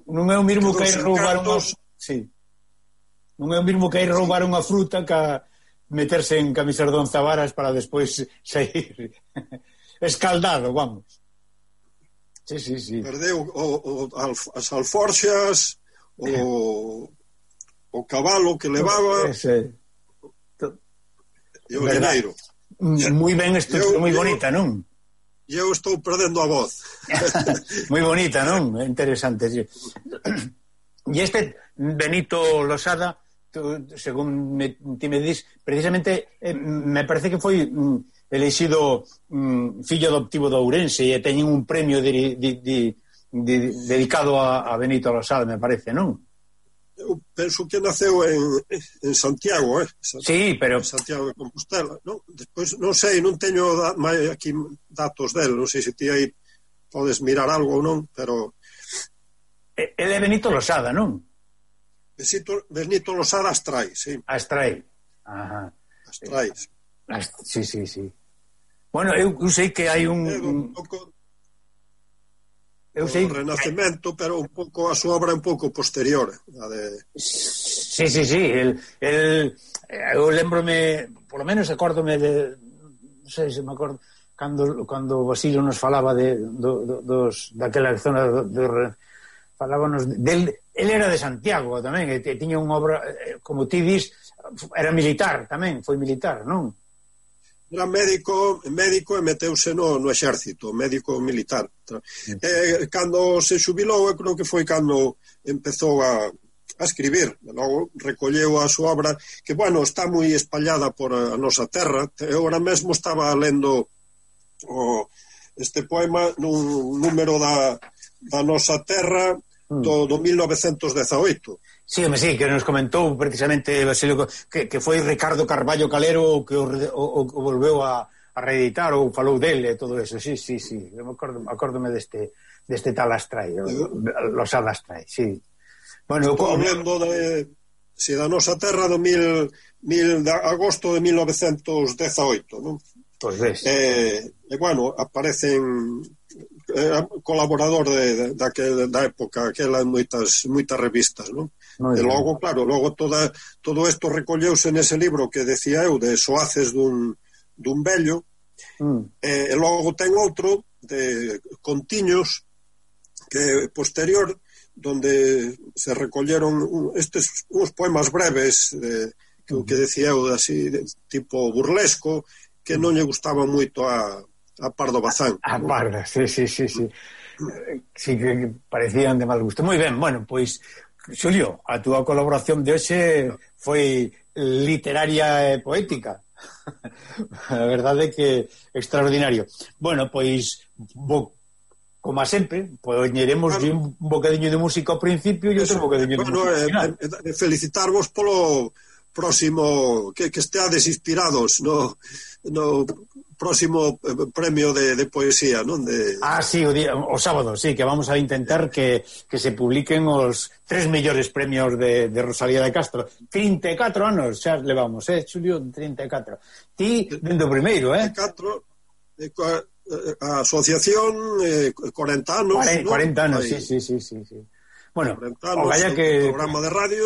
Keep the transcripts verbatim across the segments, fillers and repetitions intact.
non é o mismo que ir roubar unhos... Sí. Non é o mismo que ir roubar unha fruta que meterse en camisas de once varas para despois sair escaldado, vamos. Sí, sí, sí. Perdeu o, o, as alforxas, o, o cabalo que levaba... Ese... E o dineiro. Moi ben, estructura moi bonita, non? E eu estou perdendo a voz. Moi bonita, non? Interesante, sí. E este Benito Losada, tú, según me, ti me dis, precisamente eh, me parece que foi mm, elexido mm, fillo adoptivo de Ourense e teñen un premio de, de, de, de, dedicado a, a Benito Losada, me parece, non? Eu penso que naceu en, en Santiago, eh? Santiago, sí, pero... Santiago de Compostela, non? Despois, non sei, non teño da, aquí datos del, non sei se ti aí podes mirar algo ou non, pero... Ele é Benito Losada, non? Benito, Benito Losada Astrai, sí. Astrai. Ajá. Astrai. Ast... Sí, sí, sí. Bueno, eu, eu sei que hai un... un pouco... Eu sei... O Renacemento, pero un pouco a súa obra un pouco posterior a de... Sí, sí, sí el, el, eu lembrome, por lo menos acórdome de, non sei se me acordo cando, cando Basilio nos falaba de, do, do, dos, daquela zona do, do, falábanos del, el era de Santiago tamén, e tiña unha obra, como ti dis, era militar tamén, foi militar, non? Era médico, médico e meteuse no, no exército, médico militar. Mm. E, cando se xubilou, eu creo que foi cando empezou a, a escribir. E logo recolleu a súa obra, que, bueno, está moi espallada por a nosa terra. Eu ahora mesmo estaba lendo o, este poema nun número da, da nosa terra do, do mil novecentos dezaoito. Sí, home, sí, que nos comentou precisamente Basilio, que, que foi Ricardo Carballo Calero que o, o, o volveu a, a reeditar ou falou dele e todo eso, sí, sí, sí, eu me acordo, acórdome deste, deste tal Astrai, Losada Astrai, sí. Bueno, estou hablando de, si, da nosa terra do mil, mil, de agosto de mil novecentos dezaoito, non? Pois ves. E, e bueno, aparecen... Era colaborador de, de, de, da época, aquela en moitas, moitas revistas, non? E logo, claro, logo toda, todo isto recolleuse nese libro que decía eu, de Soaces dun, dun vello, mm. e, e logo ten outro de Contiños, que é posterior, donde se recolleron estes uns poemas breves, de, que o que decía eu, así, de, tipo burlesco, que non lle gustaba moito a, a Pardo Bazán. A Pardo, sí, sí, sí, sí. Sí, que parecían de mal gusto. Moi ben, bueno, pois... Xulio, a túa colaboración de hoxe foi literaria e poética. A verdade é que extraordinario. Bueno, pois, bo, como a sempre, poñeremos bueno, un bocadiño de música ao principio e outro bocadiño de bueno, música ao final. Eh, eh, felicitarvos polo próximo, que, que esteades inspirados no, no próximo premio de, de poesía, non? De... Ah, sí, o, día, o sábado, sí, que vamos a intentar que, que se publiquen os tres mellores premios de, de Rosalía de Castro. trinta e catro anos xa levamos, eh, Xulio, trinta e catro. Ti, dentro do primeiro, eh? trinta e catro, eh, a asociación, eh, cuarenta anos, cuarenta, ¿no? cuarenta anos, sí, sí, sí, sí, sí. Bueno, anos, o vaya que... programa de radio...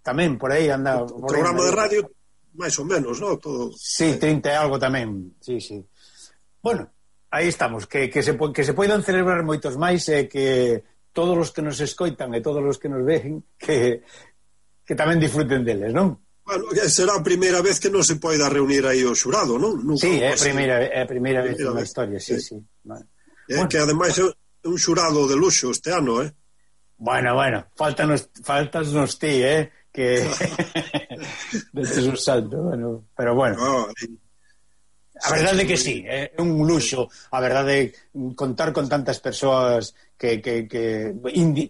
Tamén, por aí anda... O programa de radio... máis ou menos, non? Todo... Sí, trinta e algo tamén, sí, sí. Bueno, aí estamos, que, que, se, que se poidan celebrar moitos máis e que todos os que nos escoitan e todos os que nos ven que, que tamén disfruten deles, non? Bueno, será a primeira vez que non se poida reunir aí o xurado, non? Nunca sí, é a primeira, é a primeira vez na historia, sí, sí. sí. Vale. É bueno. Que ademais é un xurado de luxo este ano, eh? Bueno, bueno, faltanos, faltanos ti, eh? Que detes un salto, bueno, pero bueno. No, a verdade é que sí, é un luxo, a verdade é contar con tantas persoas que, que, que indi,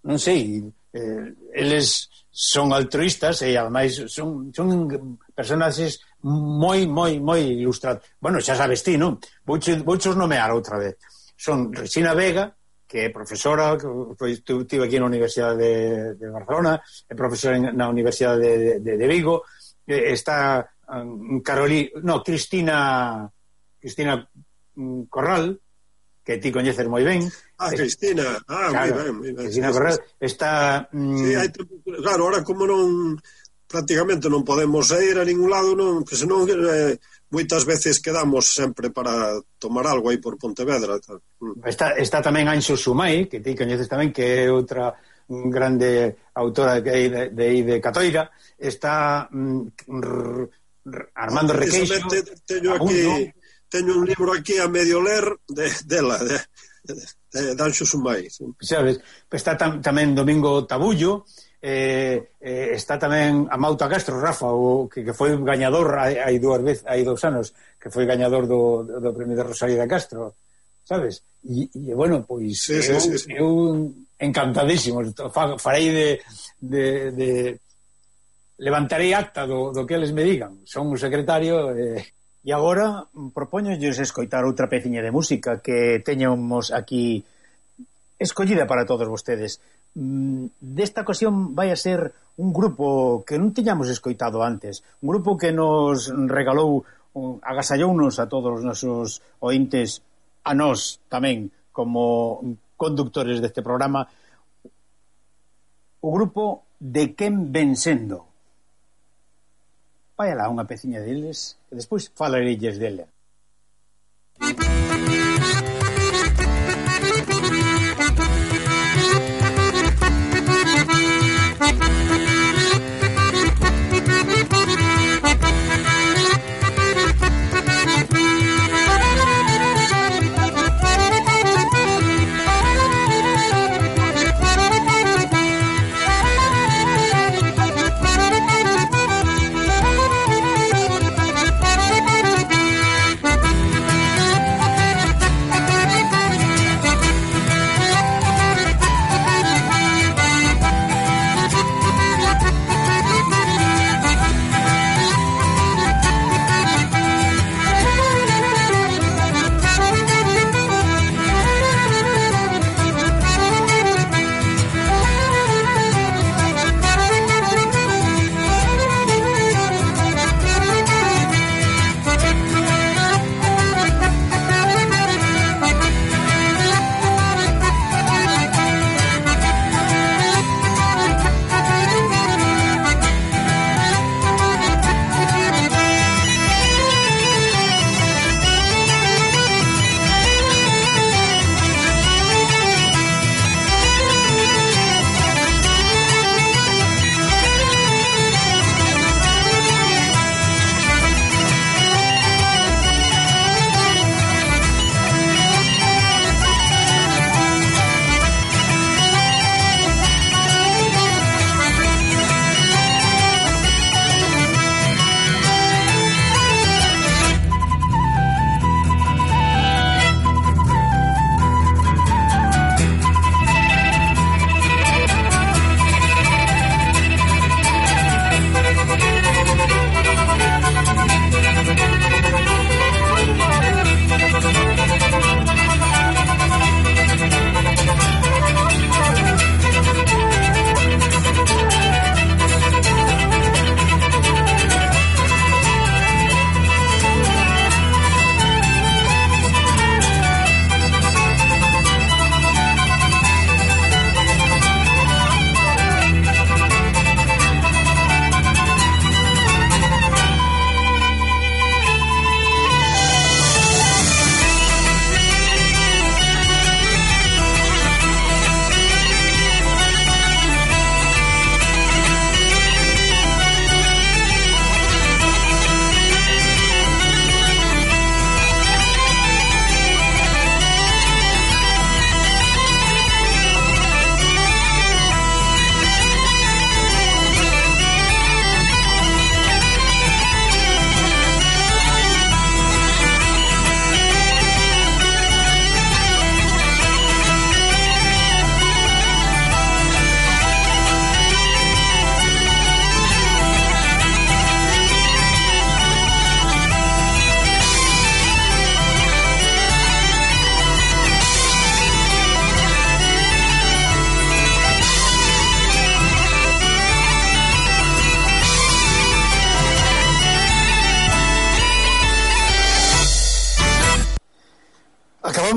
non sei, eh, eles son altruistas e ademais son, son personaxes moi, moi, moi ilustrados. Bueno, xa sabes ti, non? Vouchos vouchos nomear outra vez. Son Resina Vega, que é profesora, que estive aquí na Universidade de, de Barcelona, é profesora na Universidade de, de, de Vigo, está um, Carolina, no, Cristina Cristina um, Corral, que ti coñeces moi ben. Ah, Cristina, ah, claro, moi ben, moi ben. Cristina sí, Corral sí. Está... Mm... Sí, hai tempo, claro, ahora como non, prácticamente non podemos ir a ningún lado, non, que senón eh, moitas veces quedamos sempre para tomar algo aí por Pontevedra. Tal. Está, está tamén Anxo Sumai, que ti coñeces tamén, que é outra grande autora de, de, de, de Catoira. Está mm, Armando ah, Requeixo. Teño aquí, teño un libro aquí a medio ler de, dela, de, de, de, de Anxo Sumai. Sabes, está tam, tamén Domingo Tabullo, eh, eh, está tamén Amauta Castro, Rafa, o, que, que foi gañador hai, hai dúas veces, hai dous anos, que foi gañador do, do premio de Rosalía de Castro, sabes? E, e bueno, pois sí, eu, sí, sí, sí. eu encantadísimo, farei de, de, de levantarei acta do, do que eles me digan. Son un secretario eh... E agora propóñolles escoitar outra peciña de música que teñamos aquí escollida para todos vostedes. Desta ocasión vai a ser un grupo que non tiñamos escoitado antes, un grupo que nos regalou, agasallounos a todos os nosos ointes, a nós tamén como conductores deste programa, o grupo De Quen Ven Sendo. Vai alá unha peciña deles e despois falarelles dele.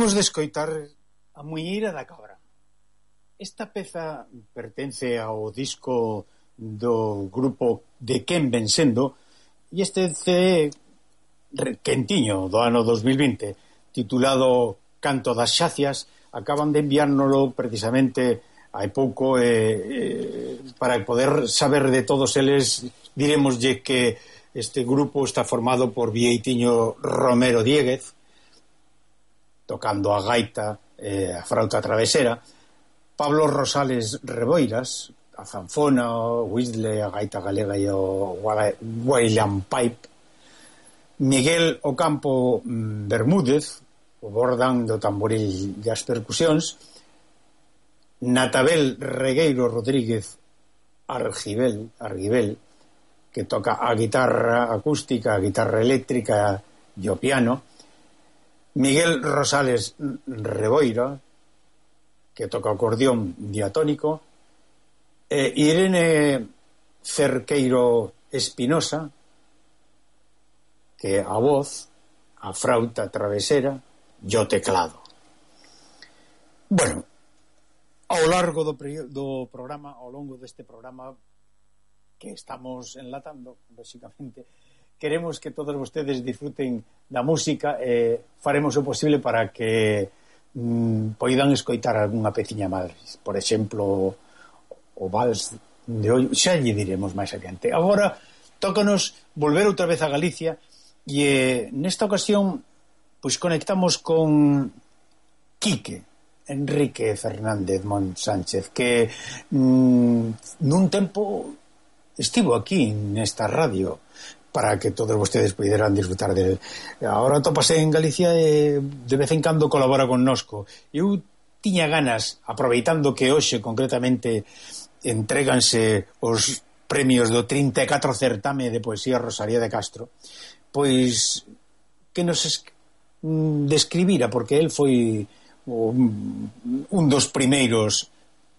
Acabamos de escoitar A Muñeira da Cabra. Esta peza pertence ao disco do grupo De Quen Ven Sendo, e este C D quentiño do ano dos mil vinte, titulado Canto das Xacias, acaban de enviárnoslo precisamente hai pouco, eh, eh, para poder saber de todos eles. Diremoslle que este grupo está formado por Vieitiño Romero Dieguez, tocando a gaita, eh, a frauta travesera, Pablo Rosales Reboiras, a zanfona, o whistle, a gaita galega e o William Pipe, Miguel Ocampo Bermúdez, o bordán do tamboril e as percusións, Natabel Regueiro Rodríguez Argibel, Argibel, que toca a guitarra acústica, a guitarra eléctrica e o piano, Miguel Rosales Reboira, que toca o acordeón diatónico, e Irene Cerqueiro Espinosa, que a voz, a frauta travesera e o teclado. Bueno, ao largo do, do programa, ao longo deste programa que estamos enlatando, basicamente, queremos que todos vostedes disfruten da música e faremos o posible para que mm, poidan escoitar algunha peciña máis. Por exemplo, o vals de hoy, xa lle diremos máis adiante. Agora, tócanos volver outra vez a Galicia e eh, nesta ocasión pois conectamos con Quique Enrique Fernández Mon Sánchez, que mm, nun tempo estivo aquí nesta radio para que todos vostedes puderan disfrutar del. Ahora topase en Galicia e de vez en cando colabora connosco. Eu tiña ganas, aproveitando que hoxe concretamente entréganse os premios do trinta e catro certame de poesía Rosalía de Castro, pois que nos es... describira, porque el foi un dos primeiros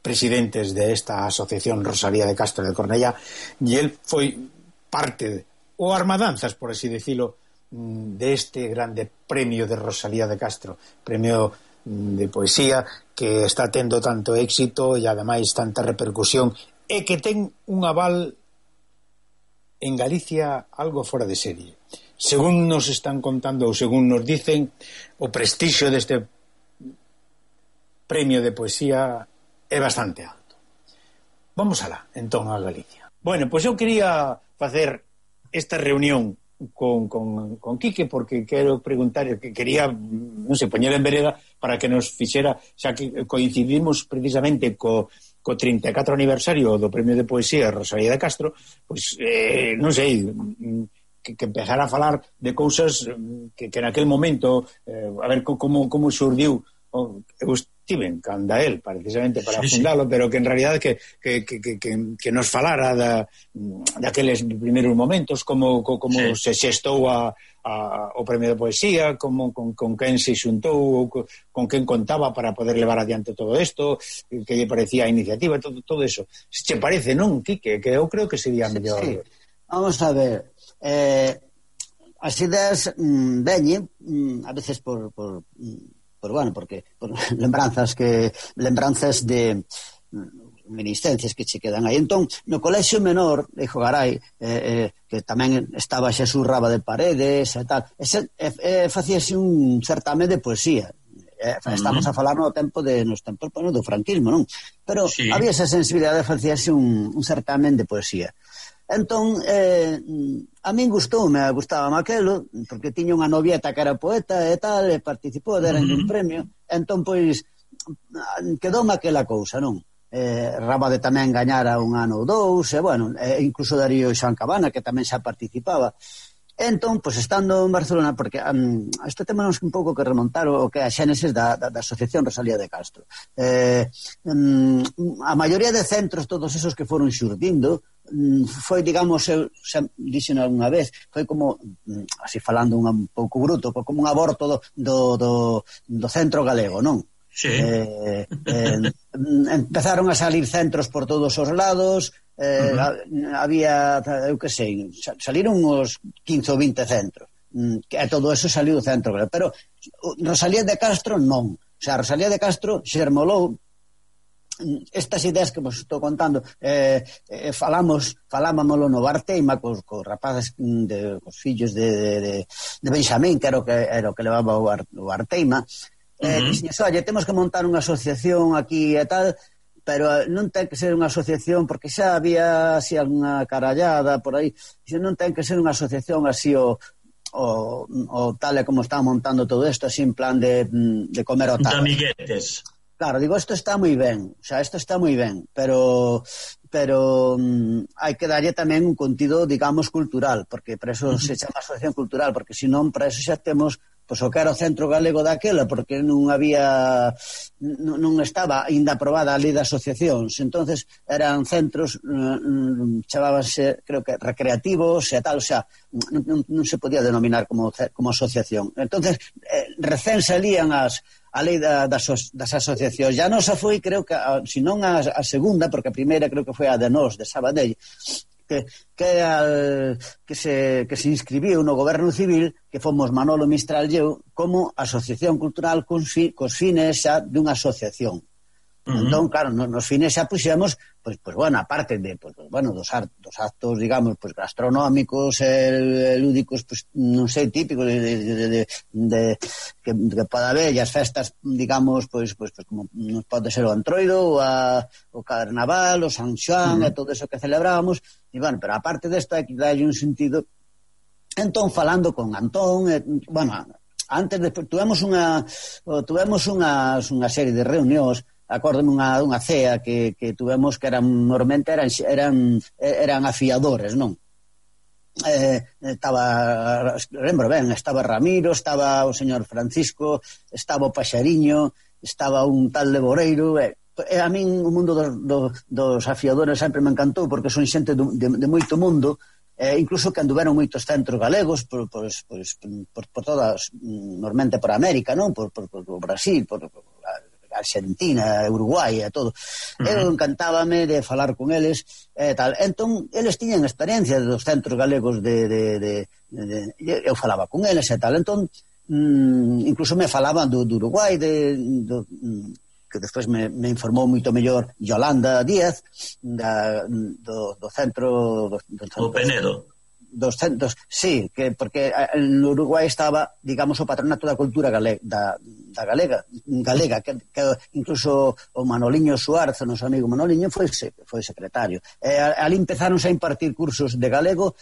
presidentes de esta asociación Rosalía de Castro de Cornellá, e el foi parte, ou armadanzas, por así decirlo, de este grande premio de Rosalía de Castro, premio de poesía que está tendo tanto éxito e ademais tanta repercusión, e que ten un aval en Galicia algo fora de serie. Según nos están contando ou según nos dicen, o prestixio deste premio de poesía é bastante alto. Vamos alá, entón, a Galicia. Bueno, pois eu quería facer esta reunión con, con, con Quique, porque quero preguntar, que quería, non sei, poñer en vereda para que nos fixera, xa que coincidimos precisamente co, co trinta e catro aniversario do premio de poesía Rosalía de Castro, pois, eh, non sei, que, que empezar a falar de cousas que, que naquel momento, eh, a ver como, como surdiu. Eu estive canda él precisamente para sí, fundalo, sí. Pero que en realidad que, que, que, que, que nos falara da, daqueles primeiros momentos, como, como sí. Se xestou a, a, o premio de poesía, como, con, con quen se xuntou, con, con quen contaba para poder levar adiante todo isto, que lle parecía a iniciativa, todo, todo eso. Se che parece, non, Quique? Que eu creo que sería mellor. Sí. Vamos a ver, eh, as ideas mm, veñen mm, a veces por, por, por bueno, porque por lembranzas que lembranzas de mm, reminiscencias que che quedan aí. Entón, no colexio menor de Jogaray, eh, eh, que tamén estaba Xesús Raba de Paredes e tal, ese, eh, eh, facíase un certame de poesía. Eh, estamos uh-huh. a falar no tempo de nos tempos bueno, do franquismo, non? Pero sí. Había esa sensibilidade de facíase un, un certamen de poesía. Entón, eh, a min gustoume, gustaba aquelo, porque tiña unha novieta que era poeta e tal, e participou, deran uh-huh. un premio, entón, pois, quedoume aquela cousa, non? Eh, Rábade tamén gañara un ano ou dous, e, bueno, e incluso Darío Xan Cabana, que tamén xa participaba. Entón, pois, estando en Barcelona, porque um, este tema nos un pouco que remontar o que é a xénesis da, da, da Asociación Rosalía de Castro. Eh, um, a maioría de centros, todos esos que foron xurdindo, um, foi, digamos, eu xa dixen algunha vez, foi como, um, así falando un pouco bruto, como un aborto do, do, do, do centro galego, non? Sí. Eh, eh, empezaron a salir centros por todos os lados, eh, uh-huh. había, eu que sei, saliron uns quince ou vinte centros. que todo eso saliu do centro galego. Pero Rosalía de Castro non. O sea, Rosalía de Castro xermolou estas ideas que vos estou contando, eh, eh, falamos falámoslo no Barteima cos, cos rapaces de, cos fillos de, de, de Benxamín, que era o que, era o que levaba o, Bar, o Barteima, eh, uh-huh. Dixen, oye, temos que montar unha asociación aquí e tal, pero non ten que ser unha asociación, porque xa había así alguna carallada por aí, dixen, non ten que ser unha asociación así o o, o tal e como está montando todo isto, así en plan de, de comer o tal. De amiguetes. Claro, digo, isto está moi ben, o sea, isto está moi ben, pero pero um, hai que darlle tamén un contido, digamos, cultural, porque para eso uh-huh. se chama asociación cultural, porque senón para eso xa temos pois o que era o Centro Galego daquela, porque non había non, non estaba ainda aprobada a lei de asociacións, entonces eran centros um, chamábanse, creo que recreativos e tal, o sea, non, non, non se podía denominar como, como asociación. Entonces, eh, recén salían as a lei da, das, das asociacións. Ya non se foi, creo que, a, si non a, a segunda, porque a primeira creo que foi a de Nós, de Sabadell, que, que, al, que, se, que se inscribiu no Goberno Civil, que fomos Manolo Mistral e eu, como asociación cultural cos, fi, cos fines xa dunha asociación. Uh-huh. Entón, claro, nos, nos fines xa puxemos, pois, pois, bueno, aparte de, pois, bueno, dos, art, dos actos, digamos, pois, gastronómicos, eh, lúdicos, pois, non sei, típicos de, de, de, de, de que, que pode haber, e as festas, digamos, pois, pois, pois como nos pode ser o Antroido, o, a, o Carnaval, o San Xoán, uh-huh. e todo eso que celebrábamos, e, bueno, pero aparte desto, hai que darlle un sentido. Entón, falando con Antón, eh, bueno, antes, despois, tuvemos unha, tuvemos unha, unha serie de reunións. Acórdome unha, unha cea que, que tuvemos que eran, normalmente eran, eran, eran afiadores, non? Eh, estaba, lembro ben, estaba Ramiro, estaba o señor Francisco, estaba o Paxariño, estaba un tal de Boreiro, e, e a min o mundo dos, dos, dos afiadores sempre me encantou, porque son xente de, de, de moito mundo, eh, incluso que anduveron moitos centros galegos por, por, por, por, por todas, normalmente por América, non? Por, por, por Brasil, por, por Argentina, Uruguai e todo. Uh-huh. Eu encantábame de falar con eles e tal. Entón, eles tiñan experiencia dos centros galegos de, de, de, de, de eu falaba con eles e tal. Entón, mm, incluso me falaban do, do Uruguai, de, do, que despois me, me informou moito mellor Yolanda Díaz, da, do, do centro... Do, do centro, o Penedo. Dos centros, sí, que porque en Uruguai estaba, digamos, o patronato da cultura galega, da, da galega, galega que, que incluso o Manoliño Suárez, o noso amigo Manoliño, foi, foi secretario. E ali empezaron a impartir cursos de galego,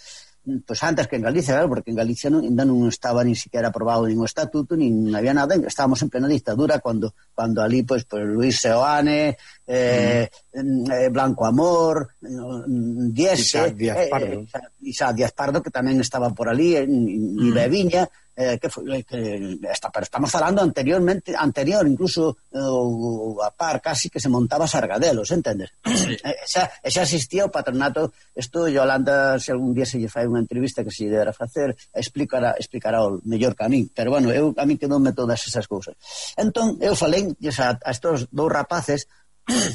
pois antes que en Galicia, claro, porque en Galicia non, ainda non estaba ni siquiera aprobado nin o estatuto, nin había nada, estábamos en plena dictadura cando, cando ali, pois, pois Luis Seoane, eh, mm. eh, Blanco Amor, Diese, Isaac Díaz Pardo, eh, Isaac Díaz Pardo, que tamén estaba por ali, e mm. Beviña, eh, que foi, que esta, pero estamos falando anteriormente, anterior, incluso eh, a par casi que se montaba Sargadelos, entendes? Sí. Eh, xa, xa existía o patronato, isto Yolanda, se algún día se lle fai unha entrevista que se lle dera facer, explicará, explicará o mellor que a mí, pero bueno, eu, a mí quedoume todas esas cousas. Entón, eu falei a, a estos dous rapaces,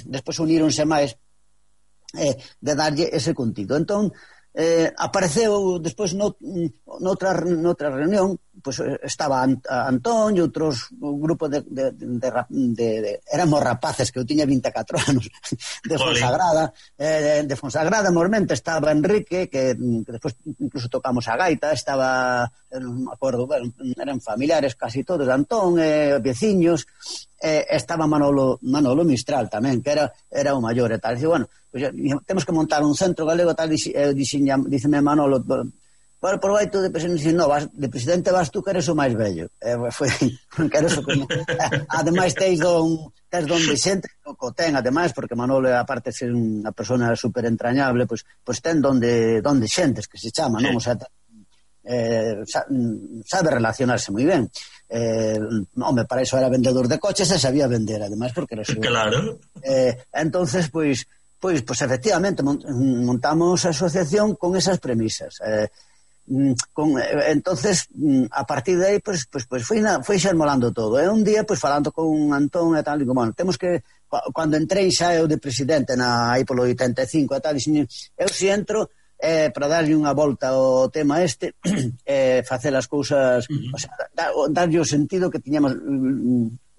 despois uníronse máis, eh, de darlle ese contido. Entón, eh, apareceu despois no, noutra, noutra reunión, pois estaba Antón e outros un grupo de, de, de, de, de éramos rapaces, que eu tiña vinte e catro anos, de Fonsagrada, eh, de Fonsagrada, mormente estaba Enrique, que, que despois incluso tocamos a gaita, estaba, non me acordo, bueno, eran familiares casi todos, Antón, eh, veciños, eh, estaba Manolo, Manolo Mistral tamén, que era, era o maior e tal. Dice, bueno, pues, temos que montar un centro galego tal, e díxeme Manolo, bueno, por vai tú de presidente, no, vas, de presidente vas tú que eres o máis vello. Eh, foi, que eres o como, eh, ademais teis don, teis don Vicente, o ten, ademais, porque Manolo, aparte de ser unha persona super entrañable, pois, pois ten donde, donde xentes, que se chama, non? O sea, eh, sabe relacionarse moi ben. Eh, home, para iso era vendedor de coches e sabía vender, ademais, porque era su... Claro. Eh, entonces, pois, pois, pois, efectivamente, montamos a asociación con esas premisas. Eh, con, entonces a partir de aí pues, pues, pues foi, na, foi xermolando todo e un día pues falando con Antón e tal, digo, bueno, temos que, cando entrei xa eu de presidente na, aí polo oitenta e cinco e tal, dixen, eu si entro é para darlle unha volta ao tema este, é facer as cousas, o sea, darlle o sentido que tiñamos,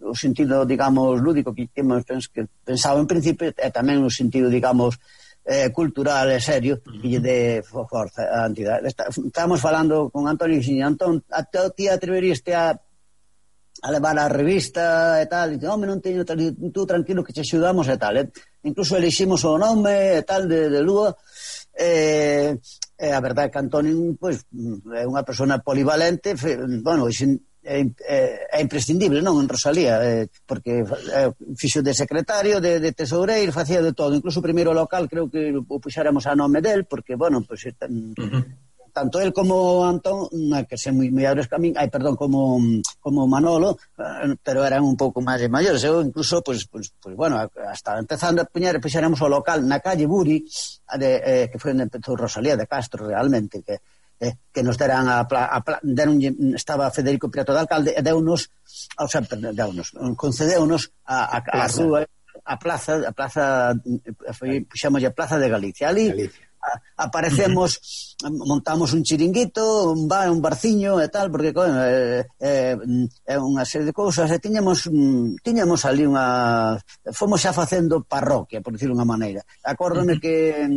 o sentido, digamos, lúdico que temos que pensado en principio, e tamén o sentido, digamos, eh, cultural e serio que lle dé forza a entidade. Estábamos falando con Antonio e dixen, Antón, a ti atreveríaste a a levar a revista e tal, e dice, home, non teño, tú tranquilo que te axudamos e tal, e incluso eliximos o nome e tal de, de Lúa, e, e a verdade é que Antonio, pois, é unha persona polivalente, fe, bueno, é, é, é imprescindible, non, en Rosalía, é, porque é, fixo de secretario, de, de tesoureiro, facía de todo, incluso o primeiro local creo que o puxáramos a nome del, porque, bueno, pois, pues, uh-huh. tanto él como Antón, que se moi mellores que a min, ai, perdón, como, como Manolo, pero eran un pouco máis maiores. Eu incluso, pues, pues, pues bueno, hasta empezando a poñer, puxéramos o local na calle Buri, de, eh, que foi onde empezou Rosalía de Castro realmente, que eh, que nos deran a, a, a deron, estaba Federico Prieto de alcalde, e deunos, o sea, deunos, concedeunos a, a, a, a rúa, a plaza, a plaza, foi, puxamos a Plaza de Galicia, ali, Galicia. Aparecemos, uh-huh. montamos un chiringuito, un bar, un barciño e tal, porque é eh, eh, unha serie de cousas, e tiñamos tiñamos ali unha, fomos xa facendo parroquia, por dicirlo unha maneira. Acórdome uh-huh. que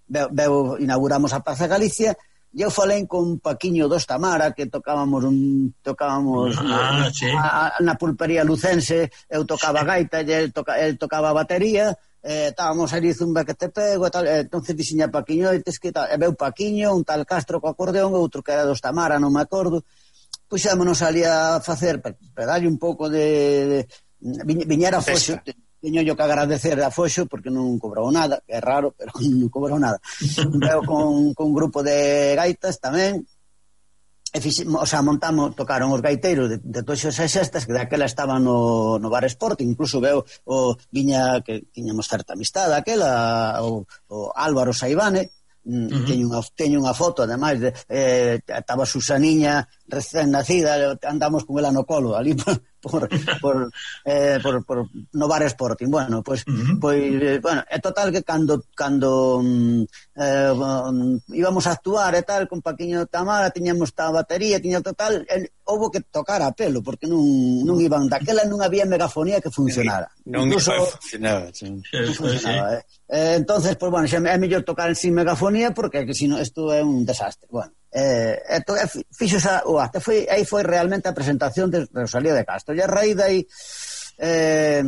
veo, veo, inauguramos a Plaza Galicia, e eu falei con Paquiño dos Tamara, que tocábamos un tocábamos ah, uh, sí. a, na pulpería lucense, eu tocaba gaita e el, toca, el tocaba batería. Eh, estábamos ali zumba que te pego e tal, eh, entonces diseña Paquiño e tes que tal, e veu Paquiño, un tal Castro co acordeón, outro que era dos Tamara, non me acordo, puxámonos ali a facer, para darlle un pouco de, de viñera Foxo, teño yo que agradecer a Foxo porque non cobrou nada, que é raro, pero non cobrou nada. Veu con, con un grupo de gaitas tamén, e fixemos, o sea, montamos, tocaron os gaiteiros de, de Toxos e Xestas, que daquela estaban no, no Bar Sport, incluso veo o viña que tiñamos certa amistade aquela, o, o Álvaro Saibane, uh-huh. teño, unha, teño unha foto, ademais, de, eh, estaba Susaniña recén nacida, andamos con ela no colo, ali por, por, por, eh, por, por no Bar Sporting. Bueno, pois, pues, uh-huh. pues, eh, bueno, é total que cando cando eh, um, íbamos a actuar e tal, con Paquiño Tamara, tiñamos a batería, tiña total, eh, houbo que tocar a pelo, porque non, non iban, daquela non había megafonía que funcionara. Non Incluso, funcionaba, sí. Non funcionaba, eh. eh. Entonces, pues bueno, xa é mellor tocar sin megafonía, porque que si non, isto é un desastre. Bueno, eh, eto, eh, fixo xa o acto, foi, aí foi realmente a presentación de Rosalía de Castro, e a raíz aí eh,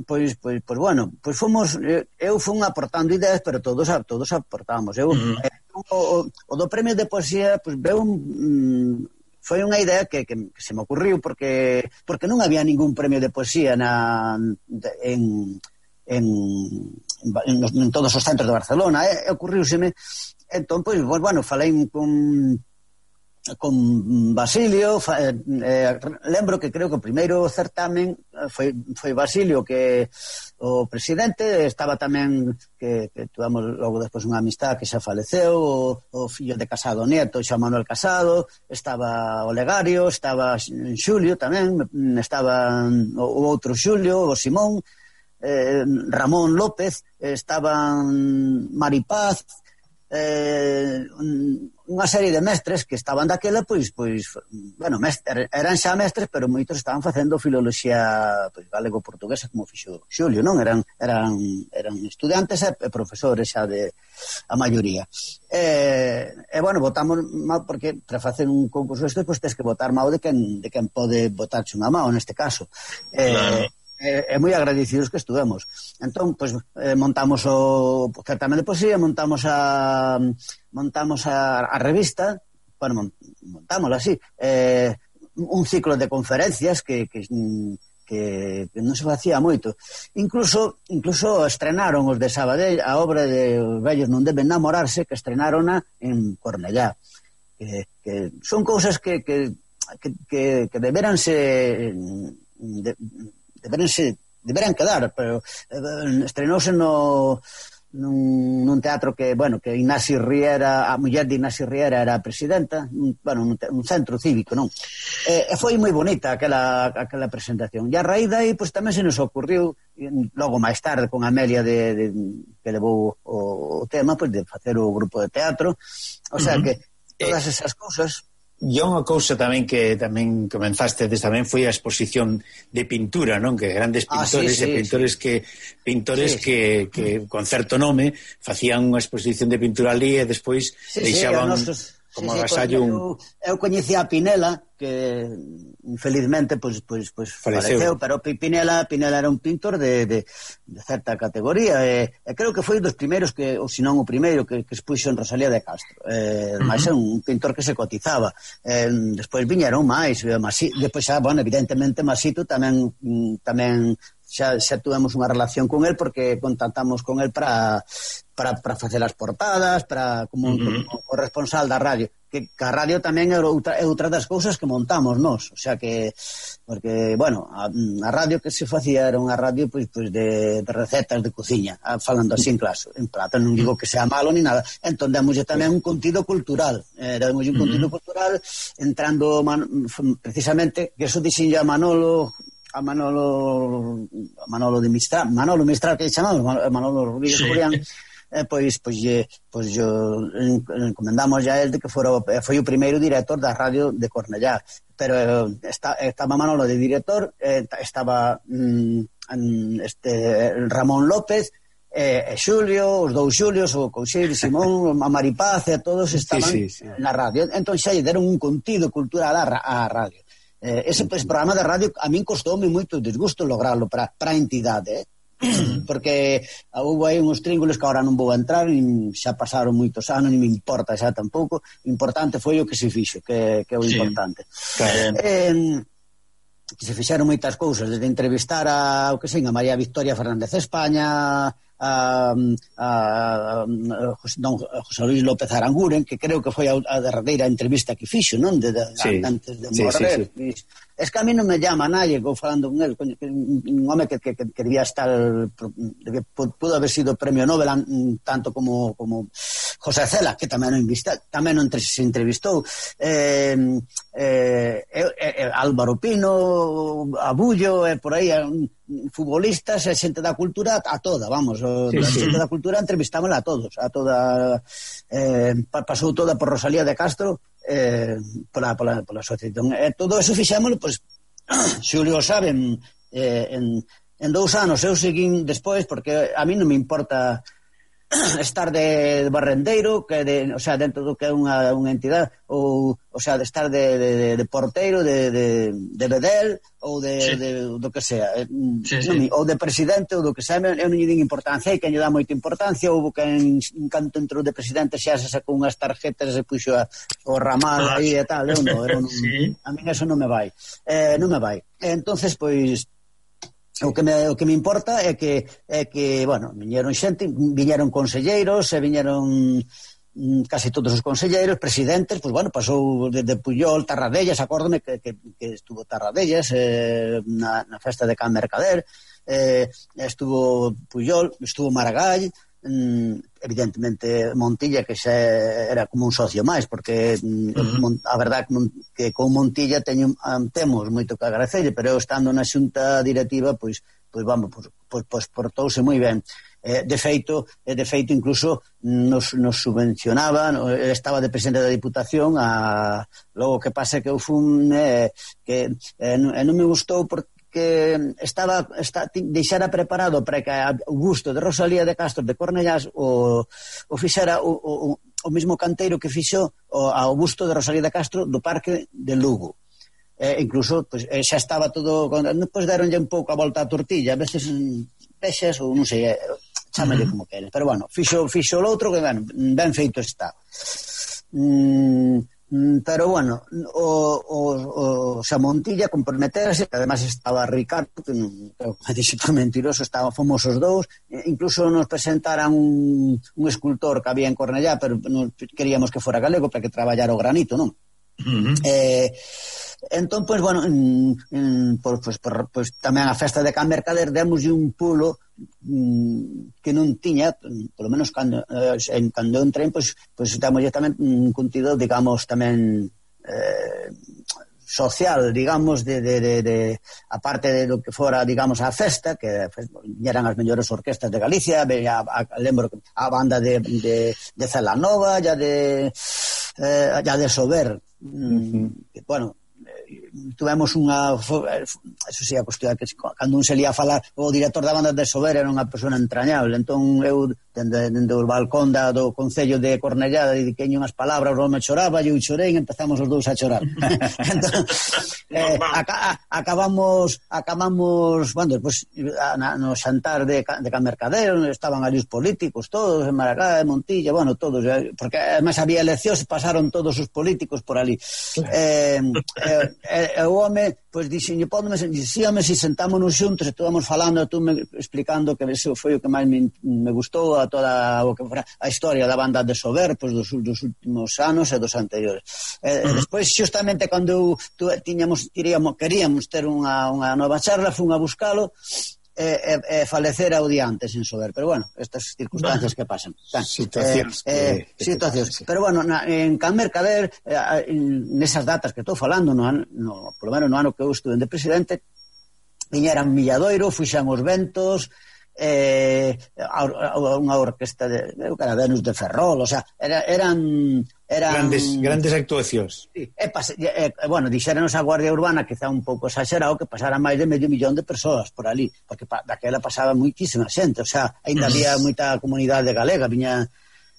pois, pois, pois bueno, pois fomos, eu fun aportando ideas, pero todos todos aportamos. Eu, uh-huh. eh, o, o do premio de poesía, pois veu un mm, foi unha idea que, que, que se me ocurriu porque porque non había ningún premio de poesía na en en, en, en todos os centros de Barcelona, e eh, ocurriuseme. Entón, pois, pues, bueno, falei con con Basilio, fa, eh, lembro que creo que o primeiro certamen foi, foi Basilio, que o presidente, estaba tamén que, que tuvamos logo despois unha amistad que xa faleceu, o, o fillo de Casado Nieto, xa Manuel Casado, estaba Olegario, estaba Xulio tamén, estaba o outro Xulio, o Simón, eh, Ramón López, estaban Maripaz, eh, unha serie de mestres que estaban daquela, pois, pois bueno, mestre, eran xa mestres, pero moitos estaban facendo filoloxía, pois, galego-portuguesa, como fixo Xulio, non? Eran, eran, eran estudantes e profesores xa de a maioría. E, e bueno, votamos mal, porque para facer un concurso este, pois, tens que votar mal de quen, de quen pode votarche unha mao, neste caso. E, claro. É, é moi agradecidos que estuvemos. Entón, pois, eh, montamos o certamen de poesía, montamos a montamos a, a revista, bueno, montámosla así, eh, un ciclo de conferencias que, que, que, que non se facía moito. Incluso incluso estrenaron os de Sabadell a obra de Os vellos non deben namorarse, que estrenarona en Cornellá. Que, que son cousas que, que, que, que, que deberanse de, deberanse, deberan quedar, pero eh, estrenouse no nun, nun teatro que, bueno, que Ignacio Riera, a muller de Ignacio Riera era a presidenta, un, bueno, un, un centro cívico, non? E, e foi moi bonita aquela, aquela presentación. E a raíz dai, pois tamén se nos ocurriu, logo máis tarde, con Amelia de, de, que levou o, o tema, pois de facer o grupo de teatro. O sea, uh-huh. que todas esas cousas... E unha cousa tamén que tamén comenzaste tamén foi a exposición de pintura, non? Que grandes pintores ah, sí, sí, e pintores sí. que pintores sí, que, sí. que con certo nome facían unha exposición de pintura ali e despois sí, deixaban sí, nosos, como sí, agasallo sí, un... Eu, eu coñecía a Pinela, que infelizmente pois, pois, pois faleceu, pero Pinela, Pinela era un pintor de, de, de certa categoría e, e creo que foi dos primeiros que, ou senón o primeiro que, que expuxo en Rosalía de Castro, eh, uh-huh. máis é un pintor que se cotizaba, eh, despois viñeron máis, Masi, despois xa, bueno, evidentemente Masito tamén tamén xa, xa tuvemos unha relación con el porque contactamos con el para para, para facer as portadas, para como, uh-huh. como corresponsal da radio, que, que a radio tamén é outra, é outra das cousas que montamos nós, o sea que porque, bueno, a, a radio que se facía era unha radio pois, pois de, de recetas de cociña, falando así en clase, en plata, non digo que sea malo ni nada, entón demoslle tamén un contido cultural, eh, demoslle un uh-huh. contido cultural entrando man, precisamente, que eso dixen a Manolo a Manolo a Manolo de Mistral, Manolo Mistral que chamamos, Manolo Rodríguez Curián, sí. eh, pois pois pois yo encomendamos a el de que fora foi o primeiro director da radio de Cornellá, pero está, estaba Manolo de director, eh, estaba mm, este Ramón López e eh, Xulio, os dous Xulios, o Coucheiro, Simón, a Maripaz e todos estaban sí, sí, sí. na radio, entón xa lle deron un contido cultural á radio. Eh, ese pues, programa de radio a min costoume moito disgusto lograrlo para a entidade, eh? Porque houve aí uns tríngulos que agora non vou a entrar, nin, xa pasaron moitos anos, non me importa xa tampouco, importante foi o que se fixo, que, que é o sí. importante. Claro. Eh, que se fixeron moitas cousas, desde entrevistar a, o que sei, a María Victoria Fernández España, a, a, a, a don José Luis López Aranguren, que creo que foi a, a derradeira entrevista que fixo, non? De, de, sí. Antes de morrer. Sí, sí, sí. Es que a mí non me llama nadie, vou falando con él, un home que, que, que quería estar, que pudo haber sido premio Nobel tanto como, como José Cela, que tamén non invista, tamén non se entrevistou, eh, eh, eh, Álvaro Pino, Abullo, eh, por aí, futbolistas e xente da cultura a toda, vamos, sí, a xente sí. da cultura entrevistámosla a todos, a toda eh, pasou toda por Rosalía de Castro eh, pola, pola, pola asociación, e eh, todo eso fixémoslo, pois Xulio saben eh, en, en dous anos eu seguín despois, porque a mí non me importa estar de barrendeiro, que de, o sea, dentro do que é unha, unha entidade, ou, o sea, de estar de, de, de porteiro, de, de, de bedel, ou de, sí. de, do que sea, sí, non, sí. ou de presidente, ou do que sea, eu non lle din importancia, e que lle dá moita importancia, ou que en, en canto entrou de presidente xa se sacou unhas tarjetas e se puxo a, o ramal aí e tal, eu non, eu non, sí. a mí eso non me vai, eh, non me vai. E entonces, pois, O que, me, o que me importa é que, é que bueno, viñeron xente, viñeron conselleiros, e viñeron casi todos os conselleiros, presidentes, pois bueno, pasou desde Puyol, Tarradellas, acórdome que, que, que estuvo Tarradellas eh, na, na festa de Can Mercader, eh, estuvo Puyol, estuvo Maragall, evidentemente Montilla, que xa era como un socio máis, porque uh-huh. a verdade que con Montilla teño, temos moito que agradecerlle, pero eu estando na xunta directiva pois, pois vamos, pois, pois, pois portouse moi ben. Eh, de feito, de feito incluso nos, nos subvencionaba, estaba de presidente da Diputación, a, logo que pasa que eu fun eh, que eh, non, non me gustou porque que estaba está, deixara preparado para que o gusto de Rosalía de Castro de Cornellás o, o fixera o, o, o mesmo canteiro que fixo o, ao busto de Rosalía de Castro do Parque de Lugo. Eh, incluso pues, eh, xa estaba todo, pues, deronlle un pouco a volta a tortilla, a veces pexes ou non sei, eh, chámale como queres, pero bueno, fixo, fixo l'outro que ben, ben feito está. Mm, pero bueno, o, o, o xa Montilla comprometerase, que además estaba Ricardo, que non creo que me dixo por mentiroso, estaba, fomos os dous, incluso nos presentaran un, un escultor que había en Cornellá, pero non queríamos que fora galego para que traballara o granito, non? Uh-huh. Eh, entón, pois, bueno, en, en, por, pues, por, pues, tamén a festa de Can Mercader demos un pulo mm, que non tiña, polo menos cando, eh, cando entrei, pois, pois temos tamén un contido, digamos, tamén eh, social, digamos, de, de, de, de aparte de lo que fora, digamos, a festa, que eran as mellores orquestas de Galicia, a, a, a, lembro a banda de, de, de Celanova, ya de eh, ya de Sober, uh-huh. mm, bueno, tuvemos unha, eso sí, a cuestión que cando un se lía a falar, o director da banda de Sober era unha persona entrañable, entón eu dende, dende o balcón da, do Concello de Cornellá dediquei unhas palabras, o home choraba, eu chorei e empezamos os dous a chorar. Entón, eh, aca, acabamos acabamos, bueno, despois na, no xantar de, de Camercadero estaban ali os políticos todos, en Maracá, en Montilla, bueno, todos, porque además había eleccións e pasaron todos os políticos por ali. Eh, eh, e o home, pois, dixenlle, pódeme, dixíame se sentámonos xuntos e estuvamos falando, tú me explicando que eso foi o que máis me, me gustou a toda o que fora a historia da banda de Sober, pois, dos, dos últimos anos e dos anteriores. E, uh-huh. e despois, xustamente, cando tu, tiñamos, queríamos, queríamos ter unha, unha nova charla, fun a buscalo, e, e, e falecer ao día antes en Sober, pero bueno, estas circunstancias que pasan. Tan, situacións eh, eh, situacións. Pero bueno, na, en Can Mercader, eh, nesas datas que estou falando, no, no, por lo menos no ano que eu estuve de presidente, viñeran Milladoiro, fuxan os ventos, eh, a, a, unha orquesta de, de Venus de Ferrol, o sea, era, eran... Eran, grandes, grandes actuacións. Sí, e, pase, e, bueno, dixéranos a Guardia Urbana, quizá un pouco exagerado, que pasara máis de medio millón de persoas por ali, porque pa, daquela pasaba muitísima xente, o sea, ainda había moita comunidade galega, viña,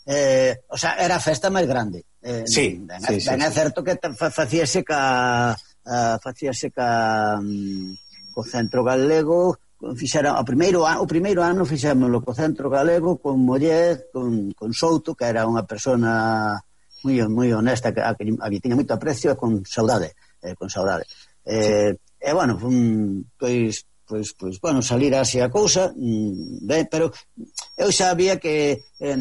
eh, o sea, era a festa máis grande. Eh, sí, ben, sí, ben sí, é sí. certo que facíase ca, uh, facíase ca um, co Centro Galego, fixera, o primeiro ano, o primeiro ano fixémoslo co Centro Galego, con Moller, con, con Souto, que era unha persona moi moi honesta, que a que, a que tiña moito aprecio, con saudade, eh, con saudade. Eh, sí. E bueno, um, pois pois pois bueno, salir así a cousa, um, ben, pero eu sabía que eh,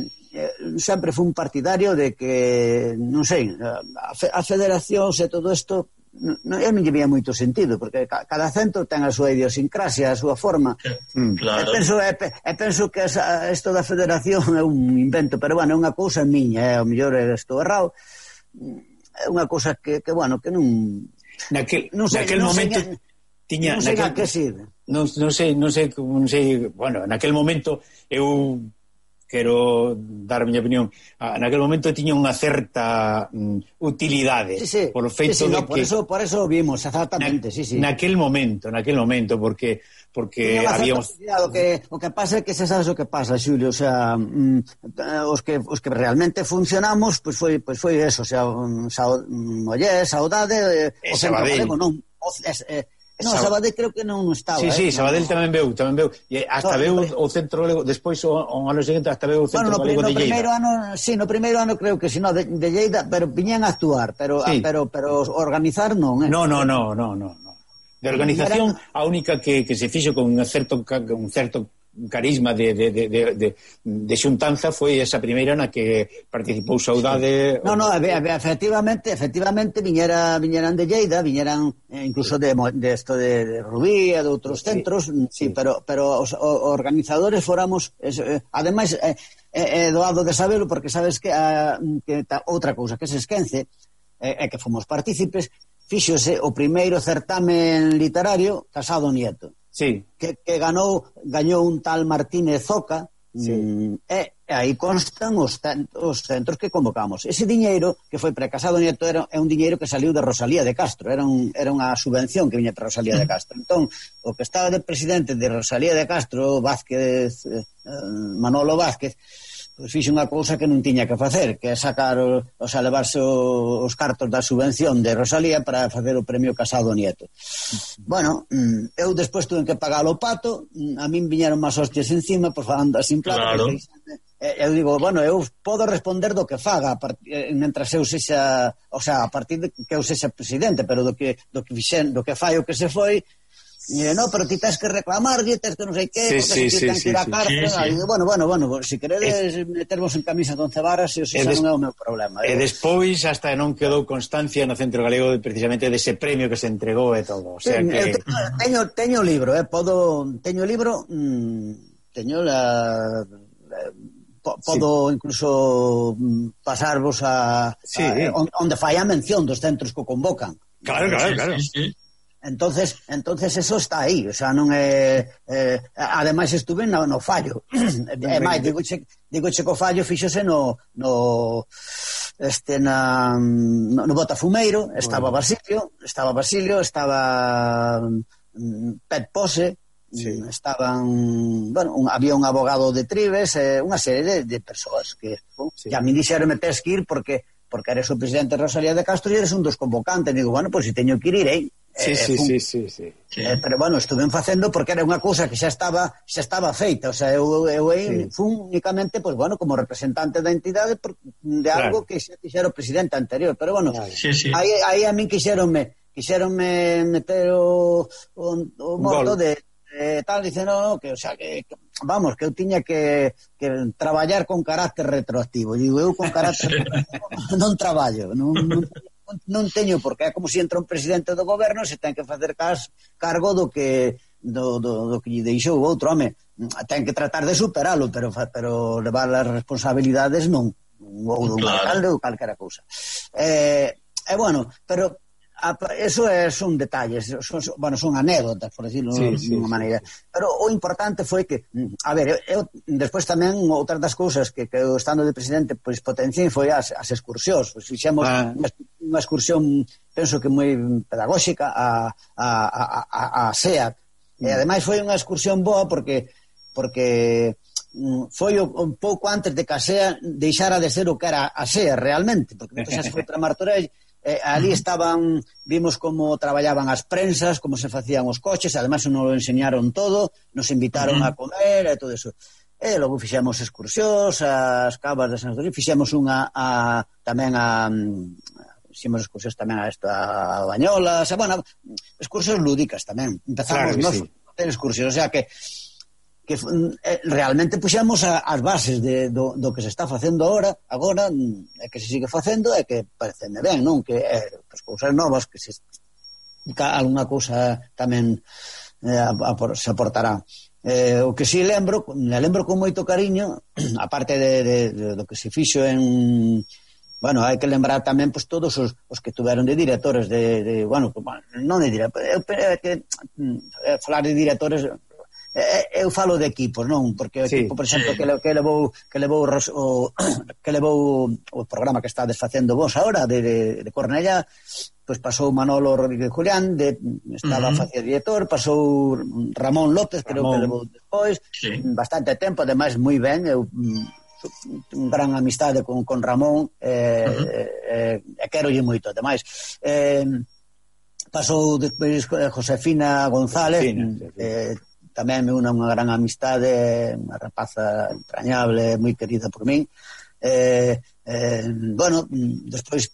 sempre fui un partidario de que, non sei, a, a federación e todo isto, no, eu non lle vía moito sentido, porque cada centro ten a súa idiosincrasia, a súa forma. Mm, claro. E penso, e, e penso que esa, isto da federación é un invento, pero bueno, é unha cousa miña, é, ao mellor estou errado, é unha cousa que, que bueno, que non... Naquel, non sei, naquel non momento... Sei, tiña, non sei naquel, a que sirve. Non, non sei, non sei, non sei, bueno, naquel momento eu quero dar a miña opinión, ah, naquel momento tiña unha certa mm, utilidade, sí, sí, por o feito sí, sí, de no, que... Por eso, por eso vimos, exactamente, na, sí, sí. Naquel momento, naquel momento, porque porque habíamos... O que, o que pasa é que se sabes o que pasa, Xulio, o sea, mm, os que os que realmente funcionamos, pois pues foi pois pues foi eso, o sea, um, sao, um, oye, saudade, eh, o Centro Galego, non, o, es, eh, No, Sabadell creo que non estaba. Sí, sí, eh, Sabadell no, tamén veu, tamén veu. E hasta no, veu o Centro Galego, despois o, o ano seguinte hasta veu o Centro bueno, no, Galego no, de Lleida. Primeiro ano, sí, no primeiro ano creo que si, no, de, de Lleida, pero viñan a actuar, pero sí. a, pero pero organizar non, eh. No, no, no, no, no, no. De organización, a única que, que se fixo con un certo un certo carisma de, de, de, de, de xuntanza foi esa primeira na que participou Saudade. No, no, efectivamente, efectivamente viñera, viñeran de Lleida, viñeran eh, incluso de, de esto de, de Rubí e de outros centros, sí, sí, sí, pero pero os, os organizadores foramos, eh, ademais é eh, eh, doado de sabelo porque sabes que, a, que ta, outra cousa que se esquence é eh, que fomos partícipes, fíxose o primeiro certamen literario Casado Nieto. Sí. Que, que ganou, gañou un tal Martínez Zoca, sí. mm, e, e aí constan os, os centros que convocamos. Ese diñeiro que foi para Casado Nieto era, é un diñeiro que saliu de Rosalía de Castro, era, un, era unha subvención que viña para Rosalía de Castro. Entón, o que estaba de presidente de Rosalía de Castro, Vázquez, eh, Manolo Vázquez, pois fixe unha cousa que non tiña que facer, que é sacar, o, o sea, levarse o, os cartos da subvención de Rosalía para facer o premio Casado Nieto. Bueno, eu despois tuve que pagar o pato, a min viñeron máis hostias encima, por falando así en claro. Porque, eu digo, bueno, eu podo responder do que faga mentras eu sexa, o sea, a partir de que eu sexa presidente, pero do que do que fixen, do que fai o que se foi. E no, pero ti tens que reclamar, tens que non sei que, sí, porque sí, ti tens sí, que ir a sí, cárcel. sí, sí. Bueno, bueno, bueno, si queredes es... metervos en camisa de once varas, e xa non é o meu problema. E eh? despois hasta non quedou constancia no Centro Galego precisamente dese premio que se entregou e todo. O sea sí, que... Teño, teño libro, eh, podo, teño libro... Mmm, teño la... podo sí. incluso pasarvos a, sí. a onde fai a mención dos centros que convocan. Claro, claro, claro. Sí, sí. Entonces, entonces eso está aí, o sea, non é eh, ademais estuve no, no fallo. E máis, digo che, digo che que o fallo fíxose no no este na no, no Botafumeiro, estaba bueno. Basilio, estaba Basilio, estaba um, Pet Pose, sí. estaban, bueno, un, había un abogado de Tribes, eh, unha serie de, de persoas que sí. ya me dixeronme tes que ir porque porque eres o presidente Rosalía de Castro e eres un dos convocantes. Digo, bueno, pois pues, se teño que ir, irei. Sí, eh, sí, fun, sí, sí, sí. Eh, pero bueno, estuve facendo porque era unha cousa que xa estaba xa estaba feita, o sea, eu, eu sí. fun únicamente, pues bueno, como representante da entidade de algo claro. que xa fixera o presidente anterior, pero bueno, sí, sí. aí, aí a min quixeronme quixeronme meter o, o, o morto de eh, tal, dice, no, no, que, o sea, que, que vamos, que eu tiña que, que traballar con carácter retroactivo. Digo, eu con carácter retroactivo non traballo, non, non, non teño, porque é como se entra un presidente do goberno se ten que facer cas, cargo do que do, do, do que lle deixou o outro, home, ten que tratar de superalo, pero, pero levar as responsabilidades non, ou do alcalde ou calquera cousa. Eh, e bueno, pero eso é, son detalles, son, bueno, son anécdotas, por decirlo sí, de unha sí, maneira. Sí. Pero o importante foi que, a ver, eu, despois tamén outras das cousas que, que eu estando de presidente pois potenciei foi as, as excursións. Pois fixemos ah. unha excursión, penso que moi pedagóxica a, a, a, a, a SEAT. Mm. E ademais foi unha excursión boa porque porque foi un pouco antes de que a SEA deixara de ser o que era a SEA realmente, porque depois xa se foi para Martorell. Eh, ali estaban, vimos como traballaban as prensas, como se facían os coches, además nos lo enseñaron todo, nos invitaron uh-huh. a comer e todo eso. E logo fixemos excursións, as cabas de San Antonio, fixemos unha a, tamén a fixemos excursións tamén a esta a Bañolas, a, bueno, excursións lúdicas tamén. Empezamos claro nos sí. a ter excursións, o sea que que eh, realmente puxemos a, as bases de, do, do que se está facendo agora, agora é que se sigue facendo e que pareceme ben, non? Que é pues, cousas novas que se alguna cousa tamén eh, a, a, se aportará. Eh, o que si lembro, me lembro con moito cariño, aparte de, de, de do que se fixo en... Bueno, hai que lembrar tamén pues, todos os, os que tuveron de directores de... de bueno, non de directores, é que eh, falar de directores... eu falo de equipos, non? Porque o sí, equipo, por exemplo, sí. que, que levou que levou o que levou o programa que está desfacendo vos agora de, de, de Cornellá, pois pues pasou Manolo Rodríguez Julián, de, estaba uh-huh. facía director, pasou Ramón López, creo Ramón. que levou despois, sí. bastante tempo, ademais moi ben, eu un gran amistade con, con Ramón, eh, uh-huh. eh, e querolle moito, ademais. Eh, pasou despois Josefina González, Josefina, sí, sí. eh, tamén me unha, unha gran amistade, unha rapaza entrañable, moi querida por min. Eh, eh, bueno, despois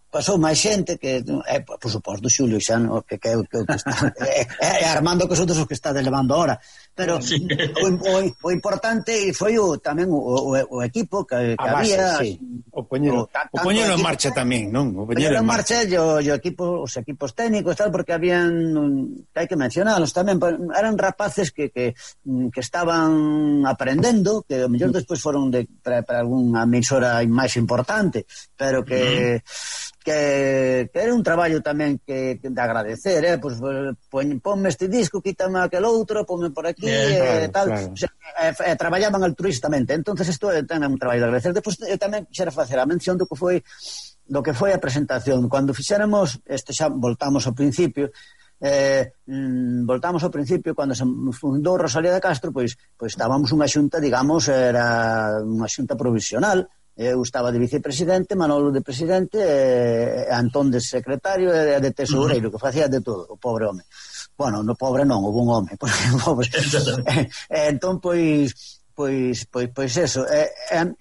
pasou máis xente que, eh, por suposto, Xulio xa, no, que, que, que, que está, eh, eh, Armando, que son dos os que está levando ahora. Pero sí. o, o, o importante foi o, tamén o, o, o equipo que, que base, había. Sí. O poñero, o, o poñero en marcha tamén, non? O poñero en marcha, marcha yo, yo equipo, os equipos técnicos, tal, porque habían, que hai que mencionalos tamén, eran rapaces que, que, que estaban aprendendo, que ao mellor despois foron de, para, para algunha emisora máis importante, pero que... Mm. Que, que era un traballo tamén que, que de agradecer, eh? Pues, pon, ponme este disco, quítame aquel outro, ponme por aquí, yeah, eh, claro, tal, claro. O sea, eh, eh, traballaban altruistamente, entonces isto é tamén un traballo de agradecer. Depois eu tamén quixera facer a mención do que foi do que foi a presentación, cando fixéramos, este xa voltamos ao principio, eh, mm, voltamos ao principio, cando se fundou Rosalía de Castro, pois, pois estábamos unha xunta, digamos, era unha xunta provisional. Eu estaba de vicepresidente, Manolo de presidente, e Antón de secretario e de tesoureiro, que facía de todo, o pobre home. Bueno, no pobre non, o bon home, porque pobre. e, e, entón, pois, pois, pois, pois eso, e,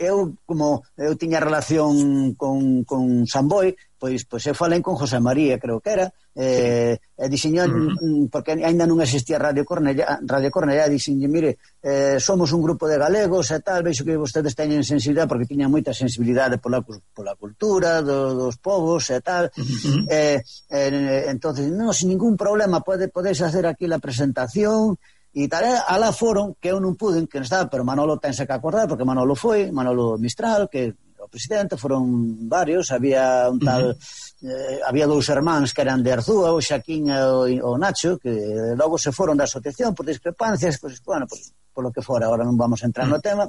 eu, como eu tiña relación con, con Samboy, pois, pois eu falei con José María, creo que era, e, e dixenho, uh-huh. porque ainda non existía Radio Cornellá, Radio Cornellá, dixenho, mire, eh, somos un grupo de galegos e tal, veixo que vostedes teñen sensibilidade, porque tiñan moita sensibilidade pola, pola cultura do, dos povos e tal, uh-huh. e, e, entonces, non, sin ningún problema, pode, podeis hacer aquí a presentación, e tal, alá foron, que eu non puden, que non estaba, pero Manolo tense que acordar, porque Manolo foi, Manolo Mistral, que o presidente, foron varios, había un tal, uh-huh. eh, había dous hermáns que eran de Arzúa, o Xaquín e o, o Nacho, que logo se foron da asociación por discrepancias, pues, bueno, pues, por lo que fora, ahora non vamos a entrar no tema,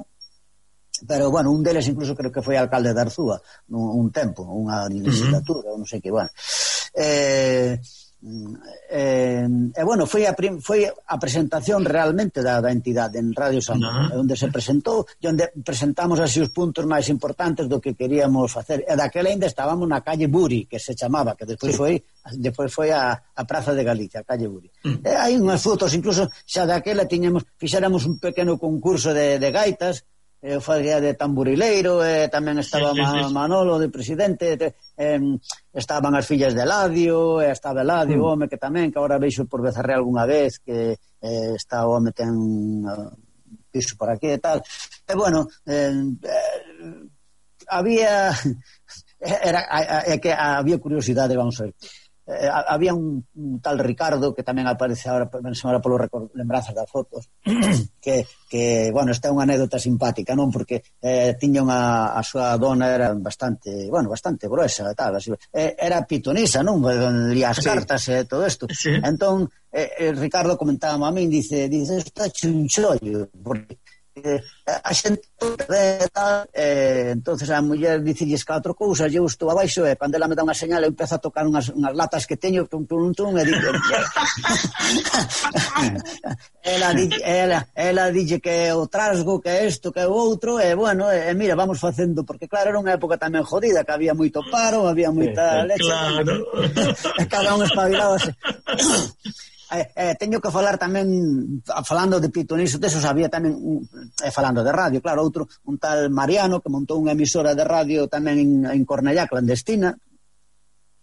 pero, bueno, un deles incluso creo que foi alcalde de Arzúa, un, un tempo, unha legislatura, uh-huh. non sei que, bueno. Eh... Eh, e bueno, foi a, prim, foi a presentación realmente da, da entidade en Radio San Juan, no. onde se presentou e onde presentamos así os puntos máis importantes do que queríamos facer, e daquela ainda estábamos na calle Buri, que se chamaba, que despois sí. foi despois foi a, a Praza de Galicia, a calle Buri. Mm. E hai unhas fotos, incluso xa daquela tiñamos, fixéramos un pequeno concurso de, de gaitas, eu fazia de tamburileiro, e tamén estaba sí, sí, sí. Manolo de presidente, te, eh, estaban as fillas de Eladio, e estaba Eladio, mm. home, que tamén, que agora veixo por Becerré algunha vez, que eh, está o home ten uh, piso por aquí e tal. E bueno, eh, eh, había era, é que había curiosidade, vamos a ver. Eh, había un, un tal Ricardo que tamén aparece agora, ahora polo record, lembranzas das fotos que, que, bueno, esta é unha anécdota simpática, non? Porque eh, tiña unha, a súa dona era bastante, bueno, bastante gruesa, tal, así, eh, era pitonisa, non? Lía as sí. cartas e eh, todo isto. Sí. Entón, eh, Ricardo comentaba a min, dice, dice, está chunchollo, porque eh, a xente eh, tal, eh, entonces a muller dicilles catro cousas, eu estou abaixo e cando ela me dá unha señal eu empezo a tocar unhas, unhas latas que teño tum, tum, tum, e dice ela, ela, ela dice que o trasgo, que isto, que o outro, e bueno, e, e mira, vamos facendo, porque claro, era unha época tamén jodida, que había moito paro, había moita leche, claro. E cada un espabilaba Eh, eh, teño que falar tamén, falando de pitoniso, desos había tamén, eh, falando de radio, claro, outro, un tal Mariano que montou unha emisora de radio tamén en, en Cornellá, clandestina,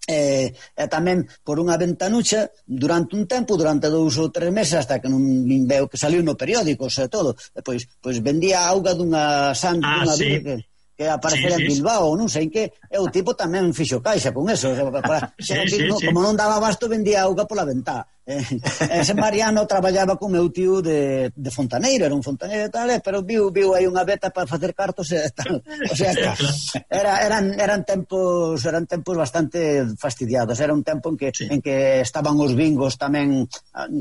e eh, eh, tamén por unha ventanucha durante un tempo, durante dous ou tres meses, hasta que non veo que saliu no periódico, e todo, e, pois, pois vendía auga dunha san, ah, dunha sí. virgen que aparecera sí, sí, en Bilbao, non sei en que, e o tipo tamén fixo caixa con eso, para, sí, sí, no, sí. Como non daba abasto, vendía auga pola ventá. Eh, ese Mariano traballaba con meu tío de, de fontaneiro, era un fontaneiro e tal, pero viu, viu aí unha beta para facer cartos e tal. O sea, que era, eran, eran tempos eran tempos bastante fastidiados, era un tempo en que, sí. en que estaban os bingos tamén,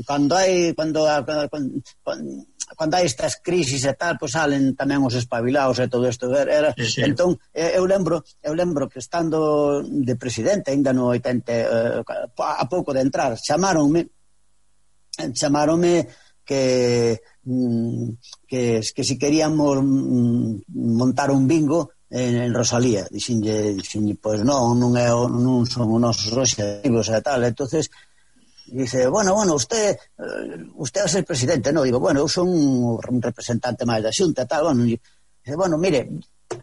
cando hai cando, cando, cando hai estas crisis e tal, pois salen tamén os espabilados e todo isto, era, sí, sí. Entón, eu lembro eu lembro que estando de presidente ainda no oitenta, eh, a pouco de entrar, chamaronme chamaronme que, que, que si queríamos montar un bingo en, en Rosalía. Dixenlle, dixenlle, pois non, non, é, non son os nosos obxectivos e tal. Entonces dice, bueno, bueno, usted usted va a ser presidente, no? Digo, bueno, eu son un representante máis da Xunta e tal. Bueno, dice, bueno, mire,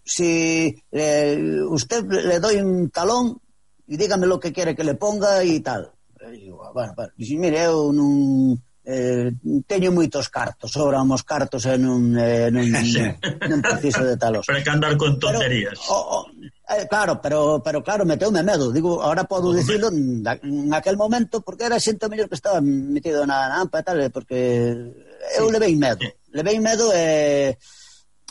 si eh, usted le doy un talón y dígame lo que quiere que le ponga e tal. E digo, bueno, bueno, dixe, mire, eu non eh, teño moitos cartos, sobran os cartos e non, eh, non, non preciso de talos. Para que andar con tonterías. Pero, oh, oh, eh, claro, pero, pero claro, meteume medo. Digo, ahora podo dicilo en aquel momento, porque era xente mellor que estaba metido na, na ampa e tal, porque eu sí. levei medo. Levei medo e...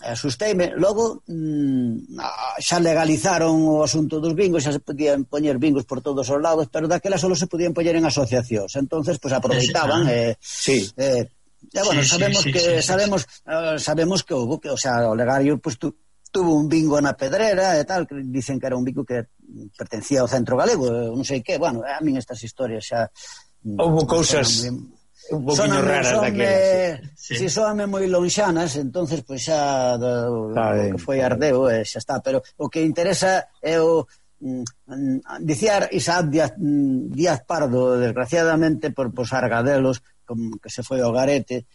asusteime. Logo mmm, xa legalizaron o asunto dos bingos, xa se podían poñer bingos por todos os lados, pero daquela só se podían poñer en asociacións, entonces pues aproveitaban e sí. eh, eh, bueno, sí, sabemos sí, sí, que sí, sí, sabemos sí. Uh, sabemos que houve que, o sea, o legario pues tu, tuvo un bingo na Pedrera e tal, que dicen que era un bingo que pertencía ao Centro Galego, non sei que, bueno, a min estas historias xa houve cousas un poquinho raras daquelas. Si sí. sí, soame moi lonxanas, entonces pois pues, xa do, o que foi Ardeo e xa está, pero o que interesa é o mm, dicía Isaac Díaz, Díaz Pardo, desgraciadamente por pos argadelos, como que se foi ao garete,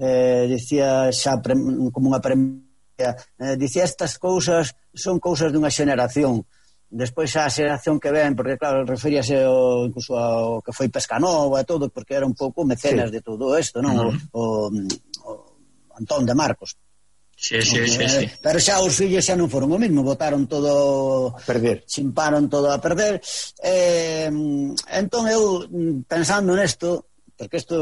eh, dicía xa pre, como unha premia, eh, dicía estas cousas son cousas dunha xeneración. Despois a xeración que ven, porque claro, referíase ao, incluso ao que foi Pescanova e todo, porque era un pouco mecenas sí. de todo isto, non? Uh-huh. o, o, o Antón de Marcos. Sí, sí, okay, sí, sí. Pero xa os fillos xa non foron o mismo, botaron todo a perder. Chimparon todo a perder. Eh, entón eu, pensando nesto, porque isto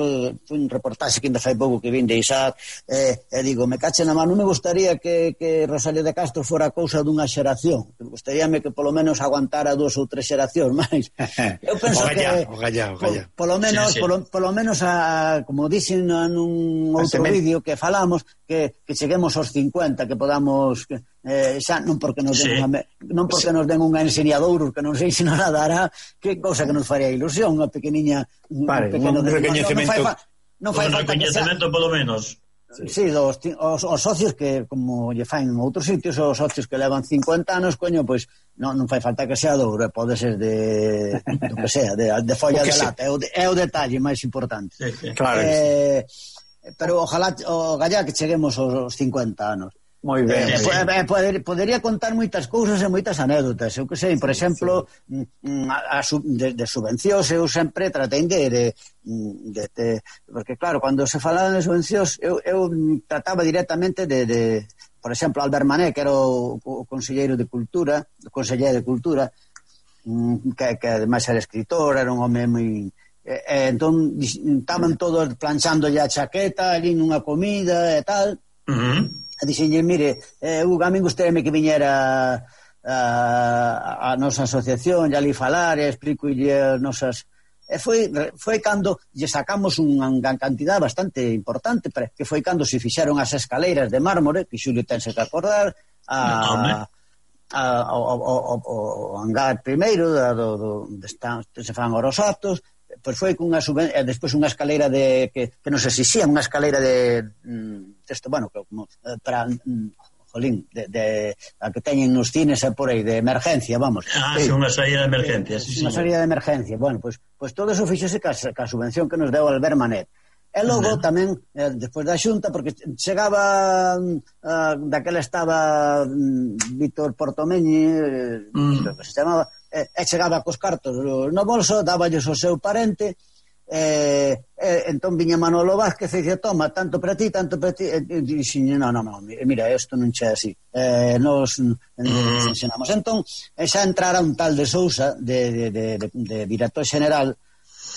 foi un reportaxe que ainda fai pouco que vin de Isaac, e, e digo, me cache na mano, non me gustaría que, que Rosalía de Castro fora cousa dunha xeración, me gustaríame que polo menos aguantara dúas ou tres xeracións máis. Eu penso ogallá, que ogallá, ogallá. Por, polo menos, sí, sí. Polo, polo menos a, como dixen nun outro vídeo que falamos, que, que cheguemos aos cincuenta, que podamos eh, xa non porque nos den sí. unha, non porque sí. nos den unha enseñadouros que non sei se nos dará, que cousa que nos faría ilusión, unha pequeniña vale, un pequeno un recoñecemento, non, non fai, non fai un recoñecemento polo menos. Sí, sí dos, os, os socios que, como lle fain en outros sitios, os socios que levan cincuenta anos, coño, pois non, non fai falta que sea douro, pode ser de do que sea, de, de folla de lata, é o, de, é o detalle máis importante. Sí, sí. Claro. Eh, pero ojalá o gallá que cheguemos aos cincuenta anos. Moi ben. Eh, eh, poder, podería contar moitas cousas e moitas anécdotas. Eu que sei, por exemplo, sí, sí. A, a, de, de subvencións eu sempre tratei de, de, de, de porque claro, cando se falaban de subvencións eu, eu trataba directamente de, de por exemplo, Albert Mané, que era o, o conselleiro de Cultura, o conselleiro de Cultura, que, que ademais era escritor, era un home moi... E, e, entón, estaban todos planchándolle a chaqueta ali nunha comida e tal. Uh-huh. E dixenlle, mire, eh, a mí gustaríame que viñera a, a nosa asociación e ali falar e explicolle as nosas... E foi, foi cando lle sacamos unha cantidad bastante importante, que foi cando se fixeron as escaleiras de mármore, que Xulio tense que acordar, a... a, ao, ao, ao, ao hangar primeiro da, do, do, de están, se fan os actos, pois foi cunha suben... e despois unha escaleira de que, que nos exixían unha escaleira de isto, bueno, como para jolín, de, de a que teñen nos cines e por aí de emergencia, vamos. Ah, sí, unha saída de emergencia, sí, unha saída de emergencia. Bueno, pois pues, pues todo eso fixose ca, ca subvención que nos deu Albert Manet. E logo uh-huh. tamén, eh, despois da xunta, porque chegaba uh, daquela estaba um, Víctor Portomeñi, eh, uh-huh. que se chamaba, e, e chegaba cos cartos no bolso, dáballes o seu parente, e, e entón viña Manolo Vázquez e dicía, toma, tanto para ti, tanto para ti, e, e dixen, no, no, no, mira, isto non che así, eh, nos uh-huh. ensinamos. Entón, xa entrara un tal de Sousa, de, de, de, de, de director general,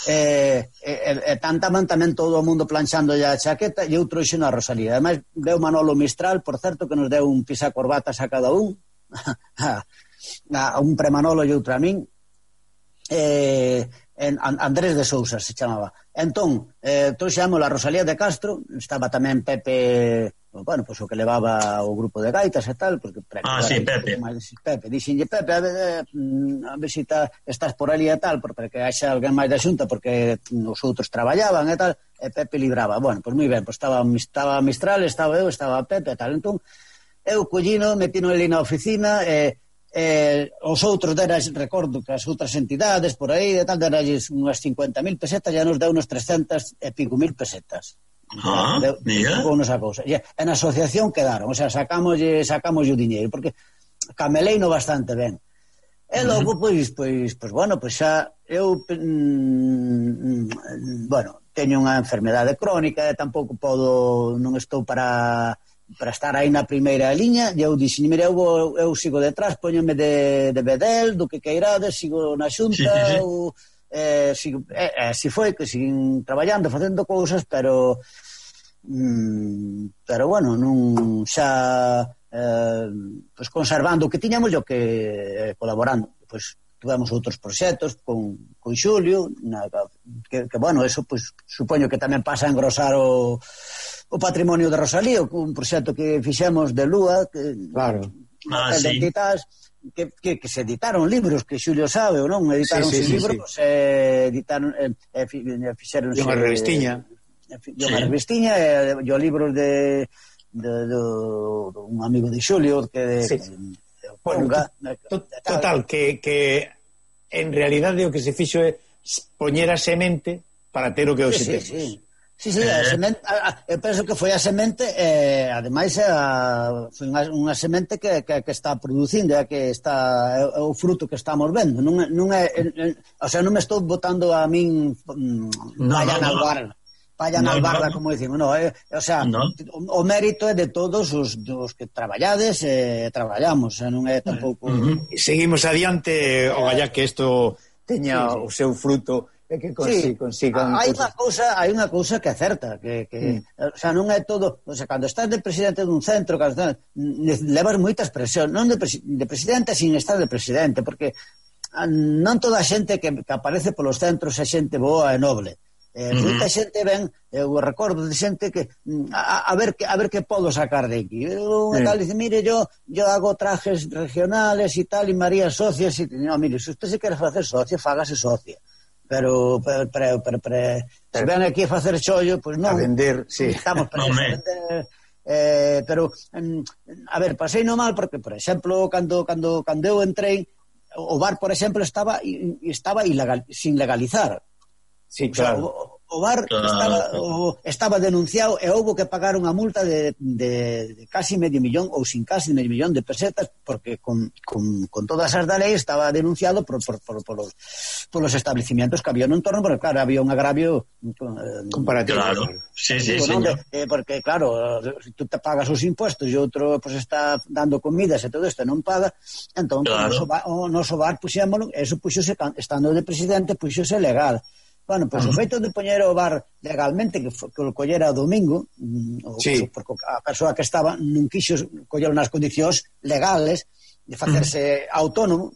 e, e, e tantaban tamén todo o mundo planchando a chaqueta e outro xeno a Rosalía. Ademais deu Manolo Mistral, por certo, que nos deu un pisacorbatas a cada un a un premanolo e outro a min, e, en Andrés de Sousa se chamaba. Entón, eh, trouxemos a Rosalía de Castro, estaba tamén Pepe, bueno, pois pues, o que levaba o grupo de gaitas e tal, porque ah, sí, Pepe. Pepe, dixenlle, Pepe, a ver, a ver se ta, estás por ali e tal, para que haxa alguén máis da xunta, porque os outros traballaban e tal, e Pepe libraba. Bueno, pois pues, moi ben, pois pues, estaba, estaba Mistral, estaba eu, estaba Pepe e tal. Entón, eu collino, metino ali na oficina e eh, os outros deras, recordo que as outras entidades por aí e tal, deralles unhas cincuenta mil pesetas, ya nos deu unos trescentas e pico mil pesetas. Ah, deu, mira. Esa cousa. E en asociación quedaron, o sea, sacamos sacamos o diñeiro, porque cameleino bastante ben. E logo, uh-huh. pois, pois, pois, bueno, pois xa eu, mm, bueno, teño unha enfermedade crónica e tampouco podo, non estou para... para estar aí na primeira liña, e eu dixen, mira, eu, eu sigo detrás, poñome de, de bedel, do que queirades, sigo na xunta, sí, sí, sí. Ou, eh, sigo, eh, eh, si foi que siguen traballando, facendo cousas, pero mm, pero bueno, non xa eh, pues conservando o que tiñamos e o que eh, colaborando, pois tuvemos outros proxectos con, con Xulio, na, que, que bueno, eso pues, supoño que tamén pasa a engrosar o o patrimonio de Rosalía, un proxecto que fixemos de Lúa, que, claro. Ah, sí. Editas, que, que, que se editaron libros, que Xulio sabe, ou non? Editaron sí, sí, sí, libros, sí. Eh, editaron, eh, eh, fixeron... E unha revistiña. E unha revistiña, e eh, o libros de, de, de, de un amigo de Xulio, que de... Sí. de, de bueno, Ponga, to, to, total, que, que en realidade o que se fixo é poñer a semente para ter o que hoxe sí, temos. Sí, sí. Sí, sí, a semente, a, a, eu penso que foi a semente, eh, ademais a, foi unha, unha semente que, que, que está producindo, é, que está, é, é o fruto que estamos vendo. Non, non é, é, o sea, non me estou botando a min mm, no, palla no, na no. albarda, palla no, na albarda, no, como dicimos, no, é, o sea, no. o, o mérito é de todos os dos que traballades e eh, traballamos, non é tampouco... Uh-huh. Seguimos adiante, o galla que isto teña sí, sí. o seu fruto é que consi, sí, consigan hai unha cousa, hai unha cousa que é certa, que, que mm. o sea, non é todo, o sea, cando estás de presidente dun centro, cando estás, levas moitas presión, non de, presi, de presidente sin estar de presidente, porque non toda a xente que, que aparece polos centros é xente boa e noble. Eh, uh-huh. Moita xente ven, eu recordo de xente que a, a ver que a ver que podo sacar de aquí. Eu sí. Tal dice, mire, yo yo hago trajes regionales e tal, e María socias, e no, mire, se usted se quere facer socia, fágase socia. Pero pero pero, pero, pero se ven aquí a facer chollo, pois pues non. A vender, sí. Estamos para no, vender. Eh, pero a ver, pasei no mal porque, por exemplo, cando cando cando eu entrei, o bar, por exemplo, estaba estaba ilegal, sin legalizar. Sí, claro. O, sea, o, o bar claro. estaba, o, estaba denunciado e houve que pagar unha multa de, de, de casi medio millón ou sin casi medio millón de pesetas porque con, con, con todas as da lei estaba denunciado por, por, por, por, los, por los establecimientos que había no entorno, porque claro, había un agravio eh, comparativo. Claro, sí, sí, sí, señor. Eh, porque claro, si tú te pagas os impuestos e outro pues, está dando comidas e todo isto non paga, entón claro. o noso bar puxémolo, eso puxose, estando de presidente, puxose legal. Bueno, pois pues, uh-huh. o feito de poñer o bar legalmente, que, que o collera o domingo, o, sí. porque a persoa que estaba non quixo collelo nas condicións legales de facerse uh-huh. autónomo.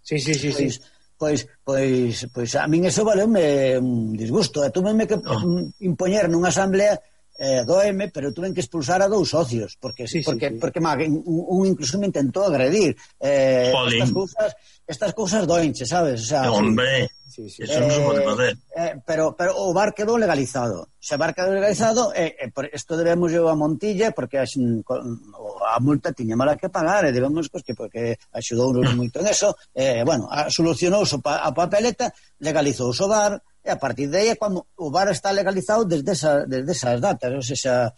Sí, sí, sí, pois, sí. Pois, pois, pois a min eso valeume un disgusto. E túveme que uh-huh. impoñer nunha asamblea eh, do M, pero tuven que expulsar a dous socios, porque sí, porque, sí, sí. porque má, un, un incluso me intentou agredir. Eh, estas cousas, estas cousas doenche, sabes? O sea, hombre... Sí, sí. Eso eh, non se pode facer. Eh, pero, pero o bar quedou legalizado. Se o bar quedou legalizado, eh, eh, por isto debemos yo a Montilla, porque a, a multa tiña mala que pagar, e debemos, pues, que porque axudou moito en eso, eh, bueno, solucionou a papeleta, legalizou o bar, e a partir de aí é cando o bar está legalizado desde, esa, desde esas datas, ou sea,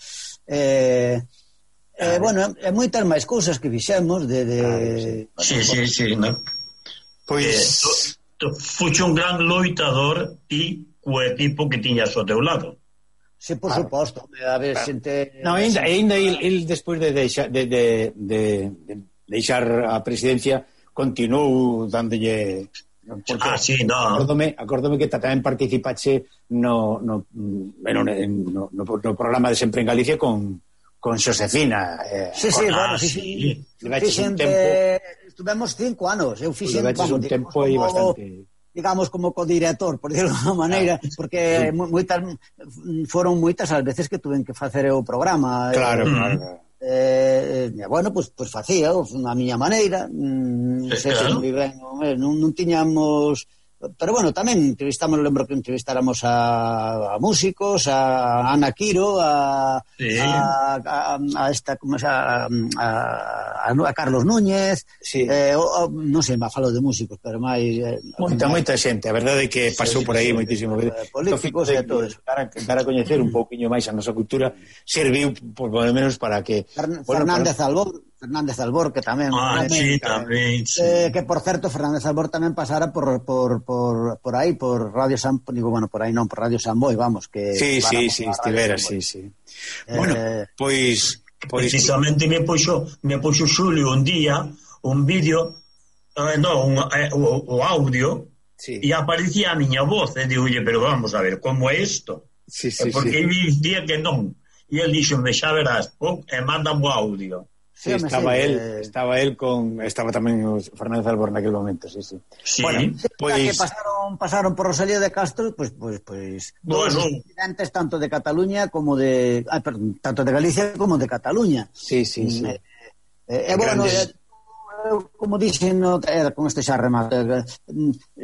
eh, eh, bueno, e moitas máis cousas que fixemos de... de sí, bueno, sí, sí, sí, no? Pois... Eh, fuxe un gran loitador ti co equipo que tiñas ao teu lado. Sí, por claro. Suposto. A ver, xente... No, ainda, ainda il, il despois de deixar de, de, de, de deixar a presidencia continuou dándolle... Ah, sí, no. Acórdome, acórdome que tamén participache no, no, no, no, no, no programa de Sempre en Galicia con, con Xosefina. Eh, sí, sí, con, bueno, ah, sí, sí. sí. sí un tempo... Estuvemos cinco anos, eu fixen vamos, un tempo aí bastante, digamos, como codirector, por decirlo de alguma maneira, ah, porque sí. moitas foron moitas as veces que tuven que facer o programa. Claro, eh, claro. Eh, eh, bueno, pois pues, pues facía a miña maneira, mm, sí, sei claro. Se ben, non, non tiñamos... Pero bueno, tamén entrevistamos, lembro que entrevistáramos a, a músicos, a Ana Quiro, a, sí. a, a, a esta, como se a, a, a Carlos Núñez, sí. eh, o, o, non sei, má falo de músicos, pero máis... Eh, moita, moita xente, a verdade é que pasou sí, por aí sí, moitísimo. Eh, políticos e todo eso. Para, para coñecer un pouquiño máis a nosa cultura, serviu, por lo menos, para que... Fern, bueno, Fernández para... Albor, Fernández Albor, que tamén... Ah, tamén, sí, tamén, sí. Eh, que, por certo, Fernández Albor tamén pasara por... por, por, por aí, por Radio San... Digo, bueno, por aí non, por Radio San Boi, vamos, que... Sí, sí, sí, estivera, sí, sí. Eh, bueno, pois... Pois... Precisamente me puxo, me puxo Xulio un día un vídeo, eh, no, un, eh, o, o audio, sí. E aparecía a miña voz, e digo, oye, pero vamos a ver, como é isto? Sí, sí, porque sí. dicía que non. E el dixo, me xa verás, pon, e mandame o audio. Sí, sí, estaba sí, él, eh... estaba él con estaba tamén o Fernández Albor naquel momento, sí, sí. Sí. Bueno, sí, pues... que pasaron pasaron por Rosalía de Castro, pues pues pues bueno, presidentes tanto de Cataluña como de, ah, perdón, tanto de Galicia como de Cataluña. Sí, sí, sí. Eh, eh, eh, bueno, eh, como dixen, no, eh, con este xa remate, eh,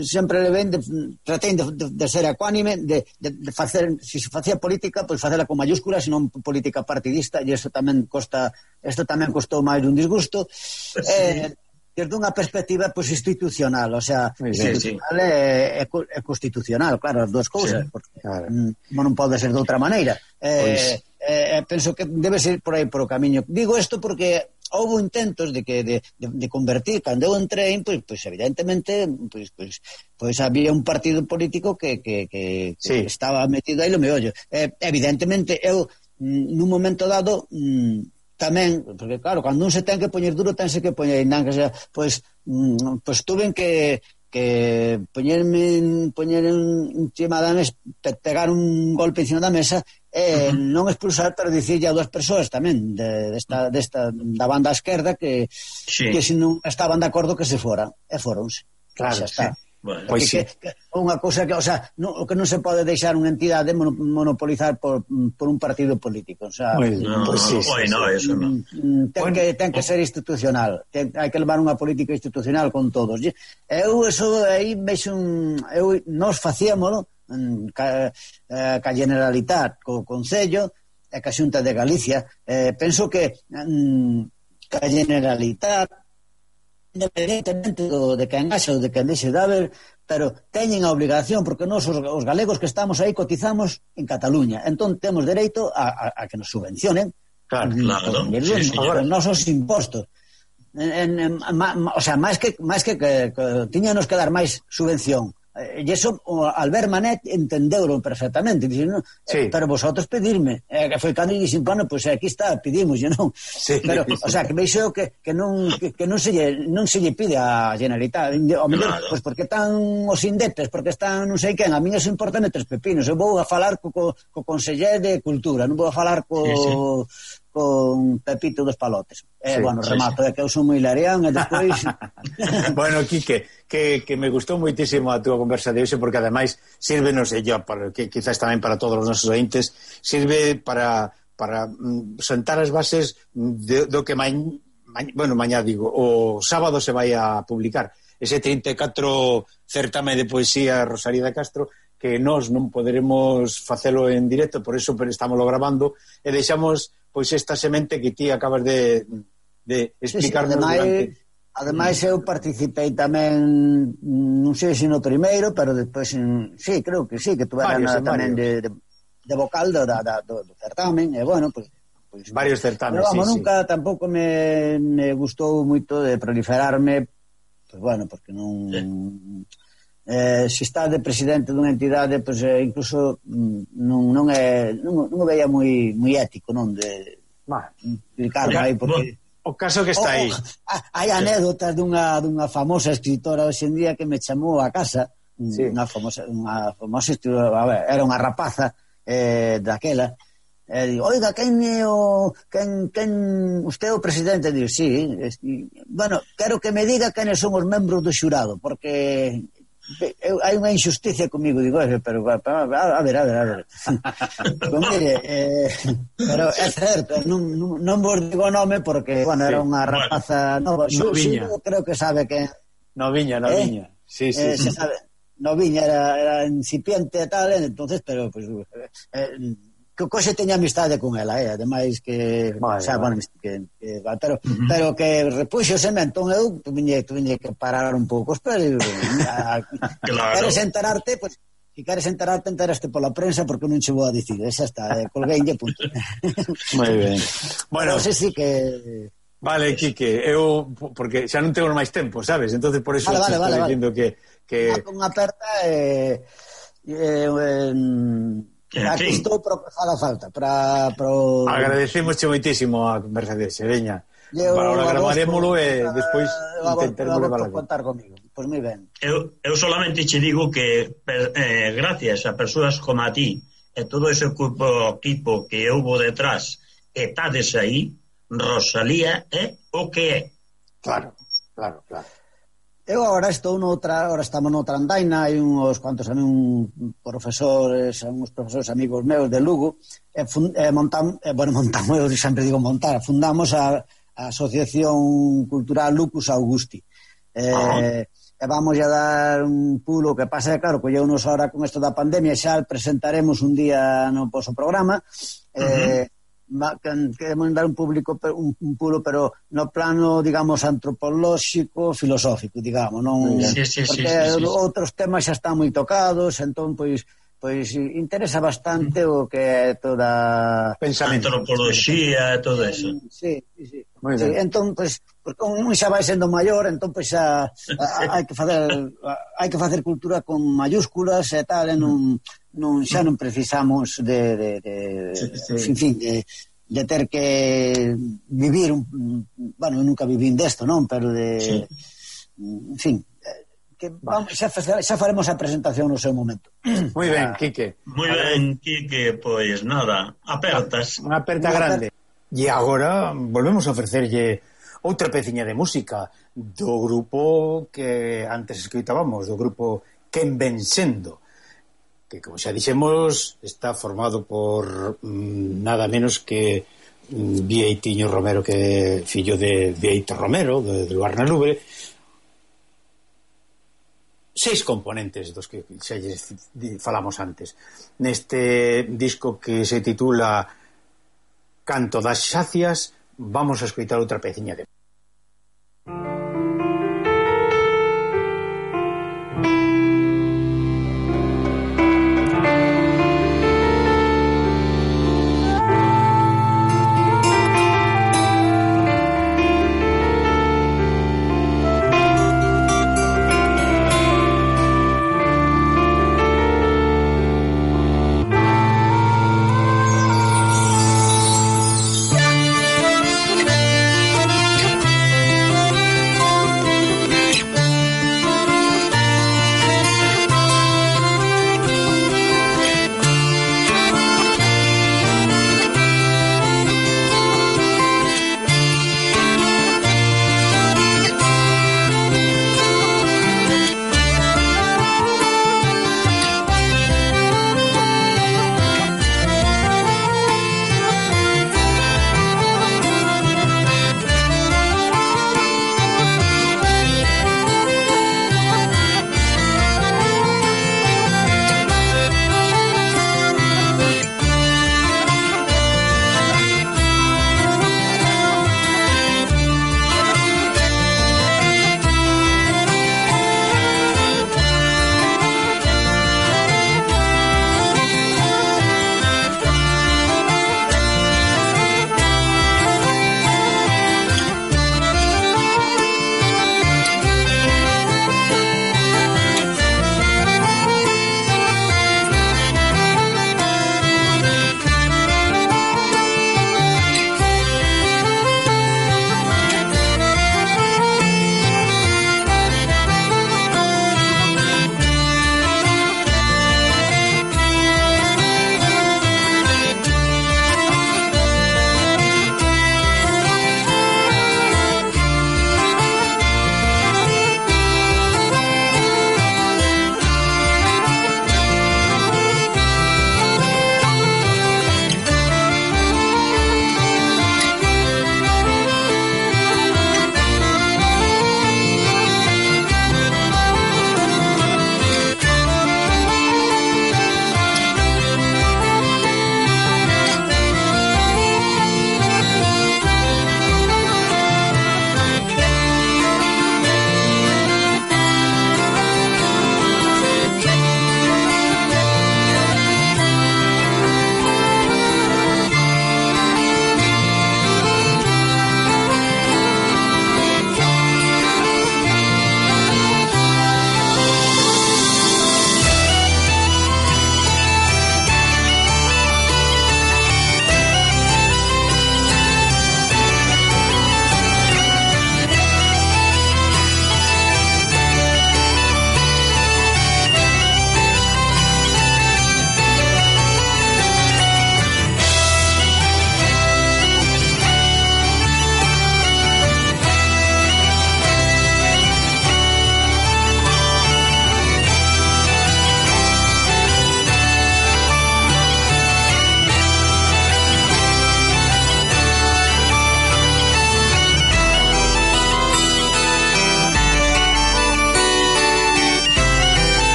sempre le ven de, tratei de, de, de ser ecuánime, de, de, de facer, se si facía política, pois pues facela con mayúsculas, senón política partidista, e isto tamén costa, isto tamén costou máis un disgusto. Sí. Eh, desde unha perspectiva pues, institucional, o sea, sí, institucional sí. E, e constitucional, claro, as dúas cousas, sí, porque claro. non pode ser de outra maneira. Eh, pues... eh, penso que debe ser por aí por o camiño. Digo isto porque houve intentos de que de, de, de convertir, cando eu entrei, pois, pois evidentemente pois, pois, pois había un partido político que, que, que, sí. que estaba metido aí no meollo. Eh, evidentemente eu nun momento dado mm, tamén, porque claro, cando un se ten que poñer duro tense que poñer, non que sea, pois, mm, pois tuven que porque poñerme poñer encima da mesa, pegar un golpe encima da mesa e uh-huh. non expulsar, pero dicirlle a dúas persoas tamén de, desta, desta, da banda esquerda que, sí. que se non estaban de acordo que se foran, e foronse. Claro, xa está. Sí. Bueno, pois que, sí. que, que unha cousa que, o sea, no, o que non se pode deixar unha entidade monopolizar por, por un partido político, o sea, pues, no, pues sí, sí, no, eso no. Ten bueno, que ten que ser institucional, ten, hai que levar unha política institucional con todos. Eu eso aí vexo un, eu nós facíamolo ca, ca Generalitat, co Concello e ca Xunta de Galicia. Eh, penso que ca Generalitat, independentemente do, de quen haxa ou de quen deixe de haber, pero teñen a obligación, porque nós os, os galegos que estamos aí cotizamos en Cataluña, entón temos dereito a, a, a que nos subvencionen, claro, claro, sí, agora nos os impostos, en, en, ma, ma, o sea, máis que máis que, que, que tiñanos que dar máis subvención. E iso Albert Manet entendeuro perfectamente, dice, no, sí. pero vosotros pedirme, eh, que foi cando e dixen, bueno, pois pues aquí está, pedimos, non? Sí, pero, sí. O sea, que veixo que, que non que, que non se lle, non se lle pide a Generalitat, o mellor, claro. Pois pues porque están os indepes, porque están non sei quen, a mí eso importa tres pepinos, eu vou a falar co, co, co Conseller de Cultura, non vou a falar co... Sí, sí. con Pepito dos Palotes. Eh, sí, bueno, remato, sí, sí. É que eu son moi larián e despois... Bueno, Quique, que, que me gustou moitísimo a túa conversa de hoxe, porque ademais sirve, non sei yo, para, que quizás tamén para todos os nosos ointes, sirve para, para mm, sentar as bases de, do que mañ, mañ, bueno, mañá digo, o sábado se vai a publicar ese trinta e catro certame de poesía Rosalía de Castro, que nós non poderemos facelo en directo, por eso estamos lo grabando, e deixamos pois esta semente que ti acabas de, de explicarnos. Sí, sí, ademais, durante... ademais eu participei tamén, non sei se no primeiro, pero despois, sí, creo que sí, que tuveran tamén de, de, de vocal do, da, do, do certamen, e bueno, pues, pues varios certames, pero, vamos, sí, nunca sí. Tampouco me, me gustou moito de proliferarme, pues bueno, porque non... Sí. Eh, se está de presidente dunha entidade, pois pues, eh, incluso non, non é non, non o veía moi moi ético, non, de explicar aí, porque o caso que está aí. Oh, hai anécdotas dunha dunha famosa escritora hoxe en día que me chamou a casa, sí. unha famosa unha famosa escritora, a ver, era unha rapaza eh, daquela. E digo, oiga, quen é o quen, quen usted é o presidente? Digo, sí, es, bueno, quero que me diga quen son os membros do xurado, porque eu, hai unha injusticia comigo, digo, pero a, a, a ver, a ver, a ver. Pues mire, eh, pero é certo, non, non, non vos digo o nome porque, bueno, era unha rapaza nova. No, Noviña. Xu, creo que sabe que... Noviña, Noviña. Eh? Sí, sí, eh, sí. Se sabe. Noviña era, era incipiente e tal, entonces, pero, pues, eh, que coxe teña amistade con ela, eh, ademais que, vale, o sea, vale. Bueno, que, que pero, uh-huh. pero que repuxo ese entón eu tuviñe, tuviñe que parar un pouco, pero a, claro. Queres enterarte, pues, si queres enterarte, enteraste pola prensa porque non che vou a dicir, esa está, eh, colgueinlle, punto. Moi ben. Bueno, non sei si que... Vale, Quique, eu, porque xa non tengo máis tempo, sabes? Entonces por eso vale, vale, estou vale, dicindo vale. que... que... Unha aperta e... Eh, eh, aquí estou para falar falta para pro... Agradecemos moitísimo a conversa de Sereña. Para gravaremoslo e despois intentaremos levar contar comigo. Pois moi ben. Eu, eu solamente che digo que eh, gracias a persoas como a ti e todo ese equipo, equipo que houve detrás e tades aí, Rosalía é o que é. Claro, claro, claro. Eu agora estou noutra, agora estamos noutra andaina, hai uns cuantos un profesores, uns profesores amigos meus de Lugo, e, fund, e montam, e, bueno, montamos, eu sempre digo montar, fundamos a, a Asociación Cultural Lucus Augusti. E, ah. e vamos a dar un pulo, que pasa, claro, colleunos ahora con isto da pandemia, xa presentaremos un día no poso programa, e, uh-huh. queremos dar un público un, un pulo, pero no plano, digamos, antropolóxico, filosófico, digamos, non, sí, sí, porque sí, sí, sí. Outros temas xa están moi tocados, entón, pois, pois interesa bastante o que é toda pensamento, antropoloxía e todo eso. Sí, sí, sí. Muy sí, entón, pois, porque un xa vai sendo maior, entón, pois, xa hai que facer hai que facer cultura con mayúsculas e tal, e non non, xa non precisamos de, de, de, sí, sí. En fin, de, de ter que vivir un, bueno, eu nunca vivín desto, non? Pero de, sí. En fin, que vamos, xa, xa faremos a presentación no seu momento. Moi ben, Quique. Moi ben, Quique, pois nada, apertas. Unha aperta grande. E agora volvemos a ofrecerlle outra peciña de música do grupo que antes escoitábamos, do grupo Quen ven sendo, que, como xa dixemos, está formado por mm, nada menos que mm, Vieitiño Romero, que é fillo de Vieito Romero, de, de Luar na Lubre. Seis componentes dos que xa falamos antes. Neste disco que se titula Canto das Xacias, vamos a escoitar outra peciña de Come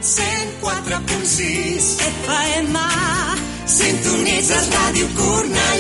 cent quatre punt sis F M. Sintonitzes Ràdio Cornellà.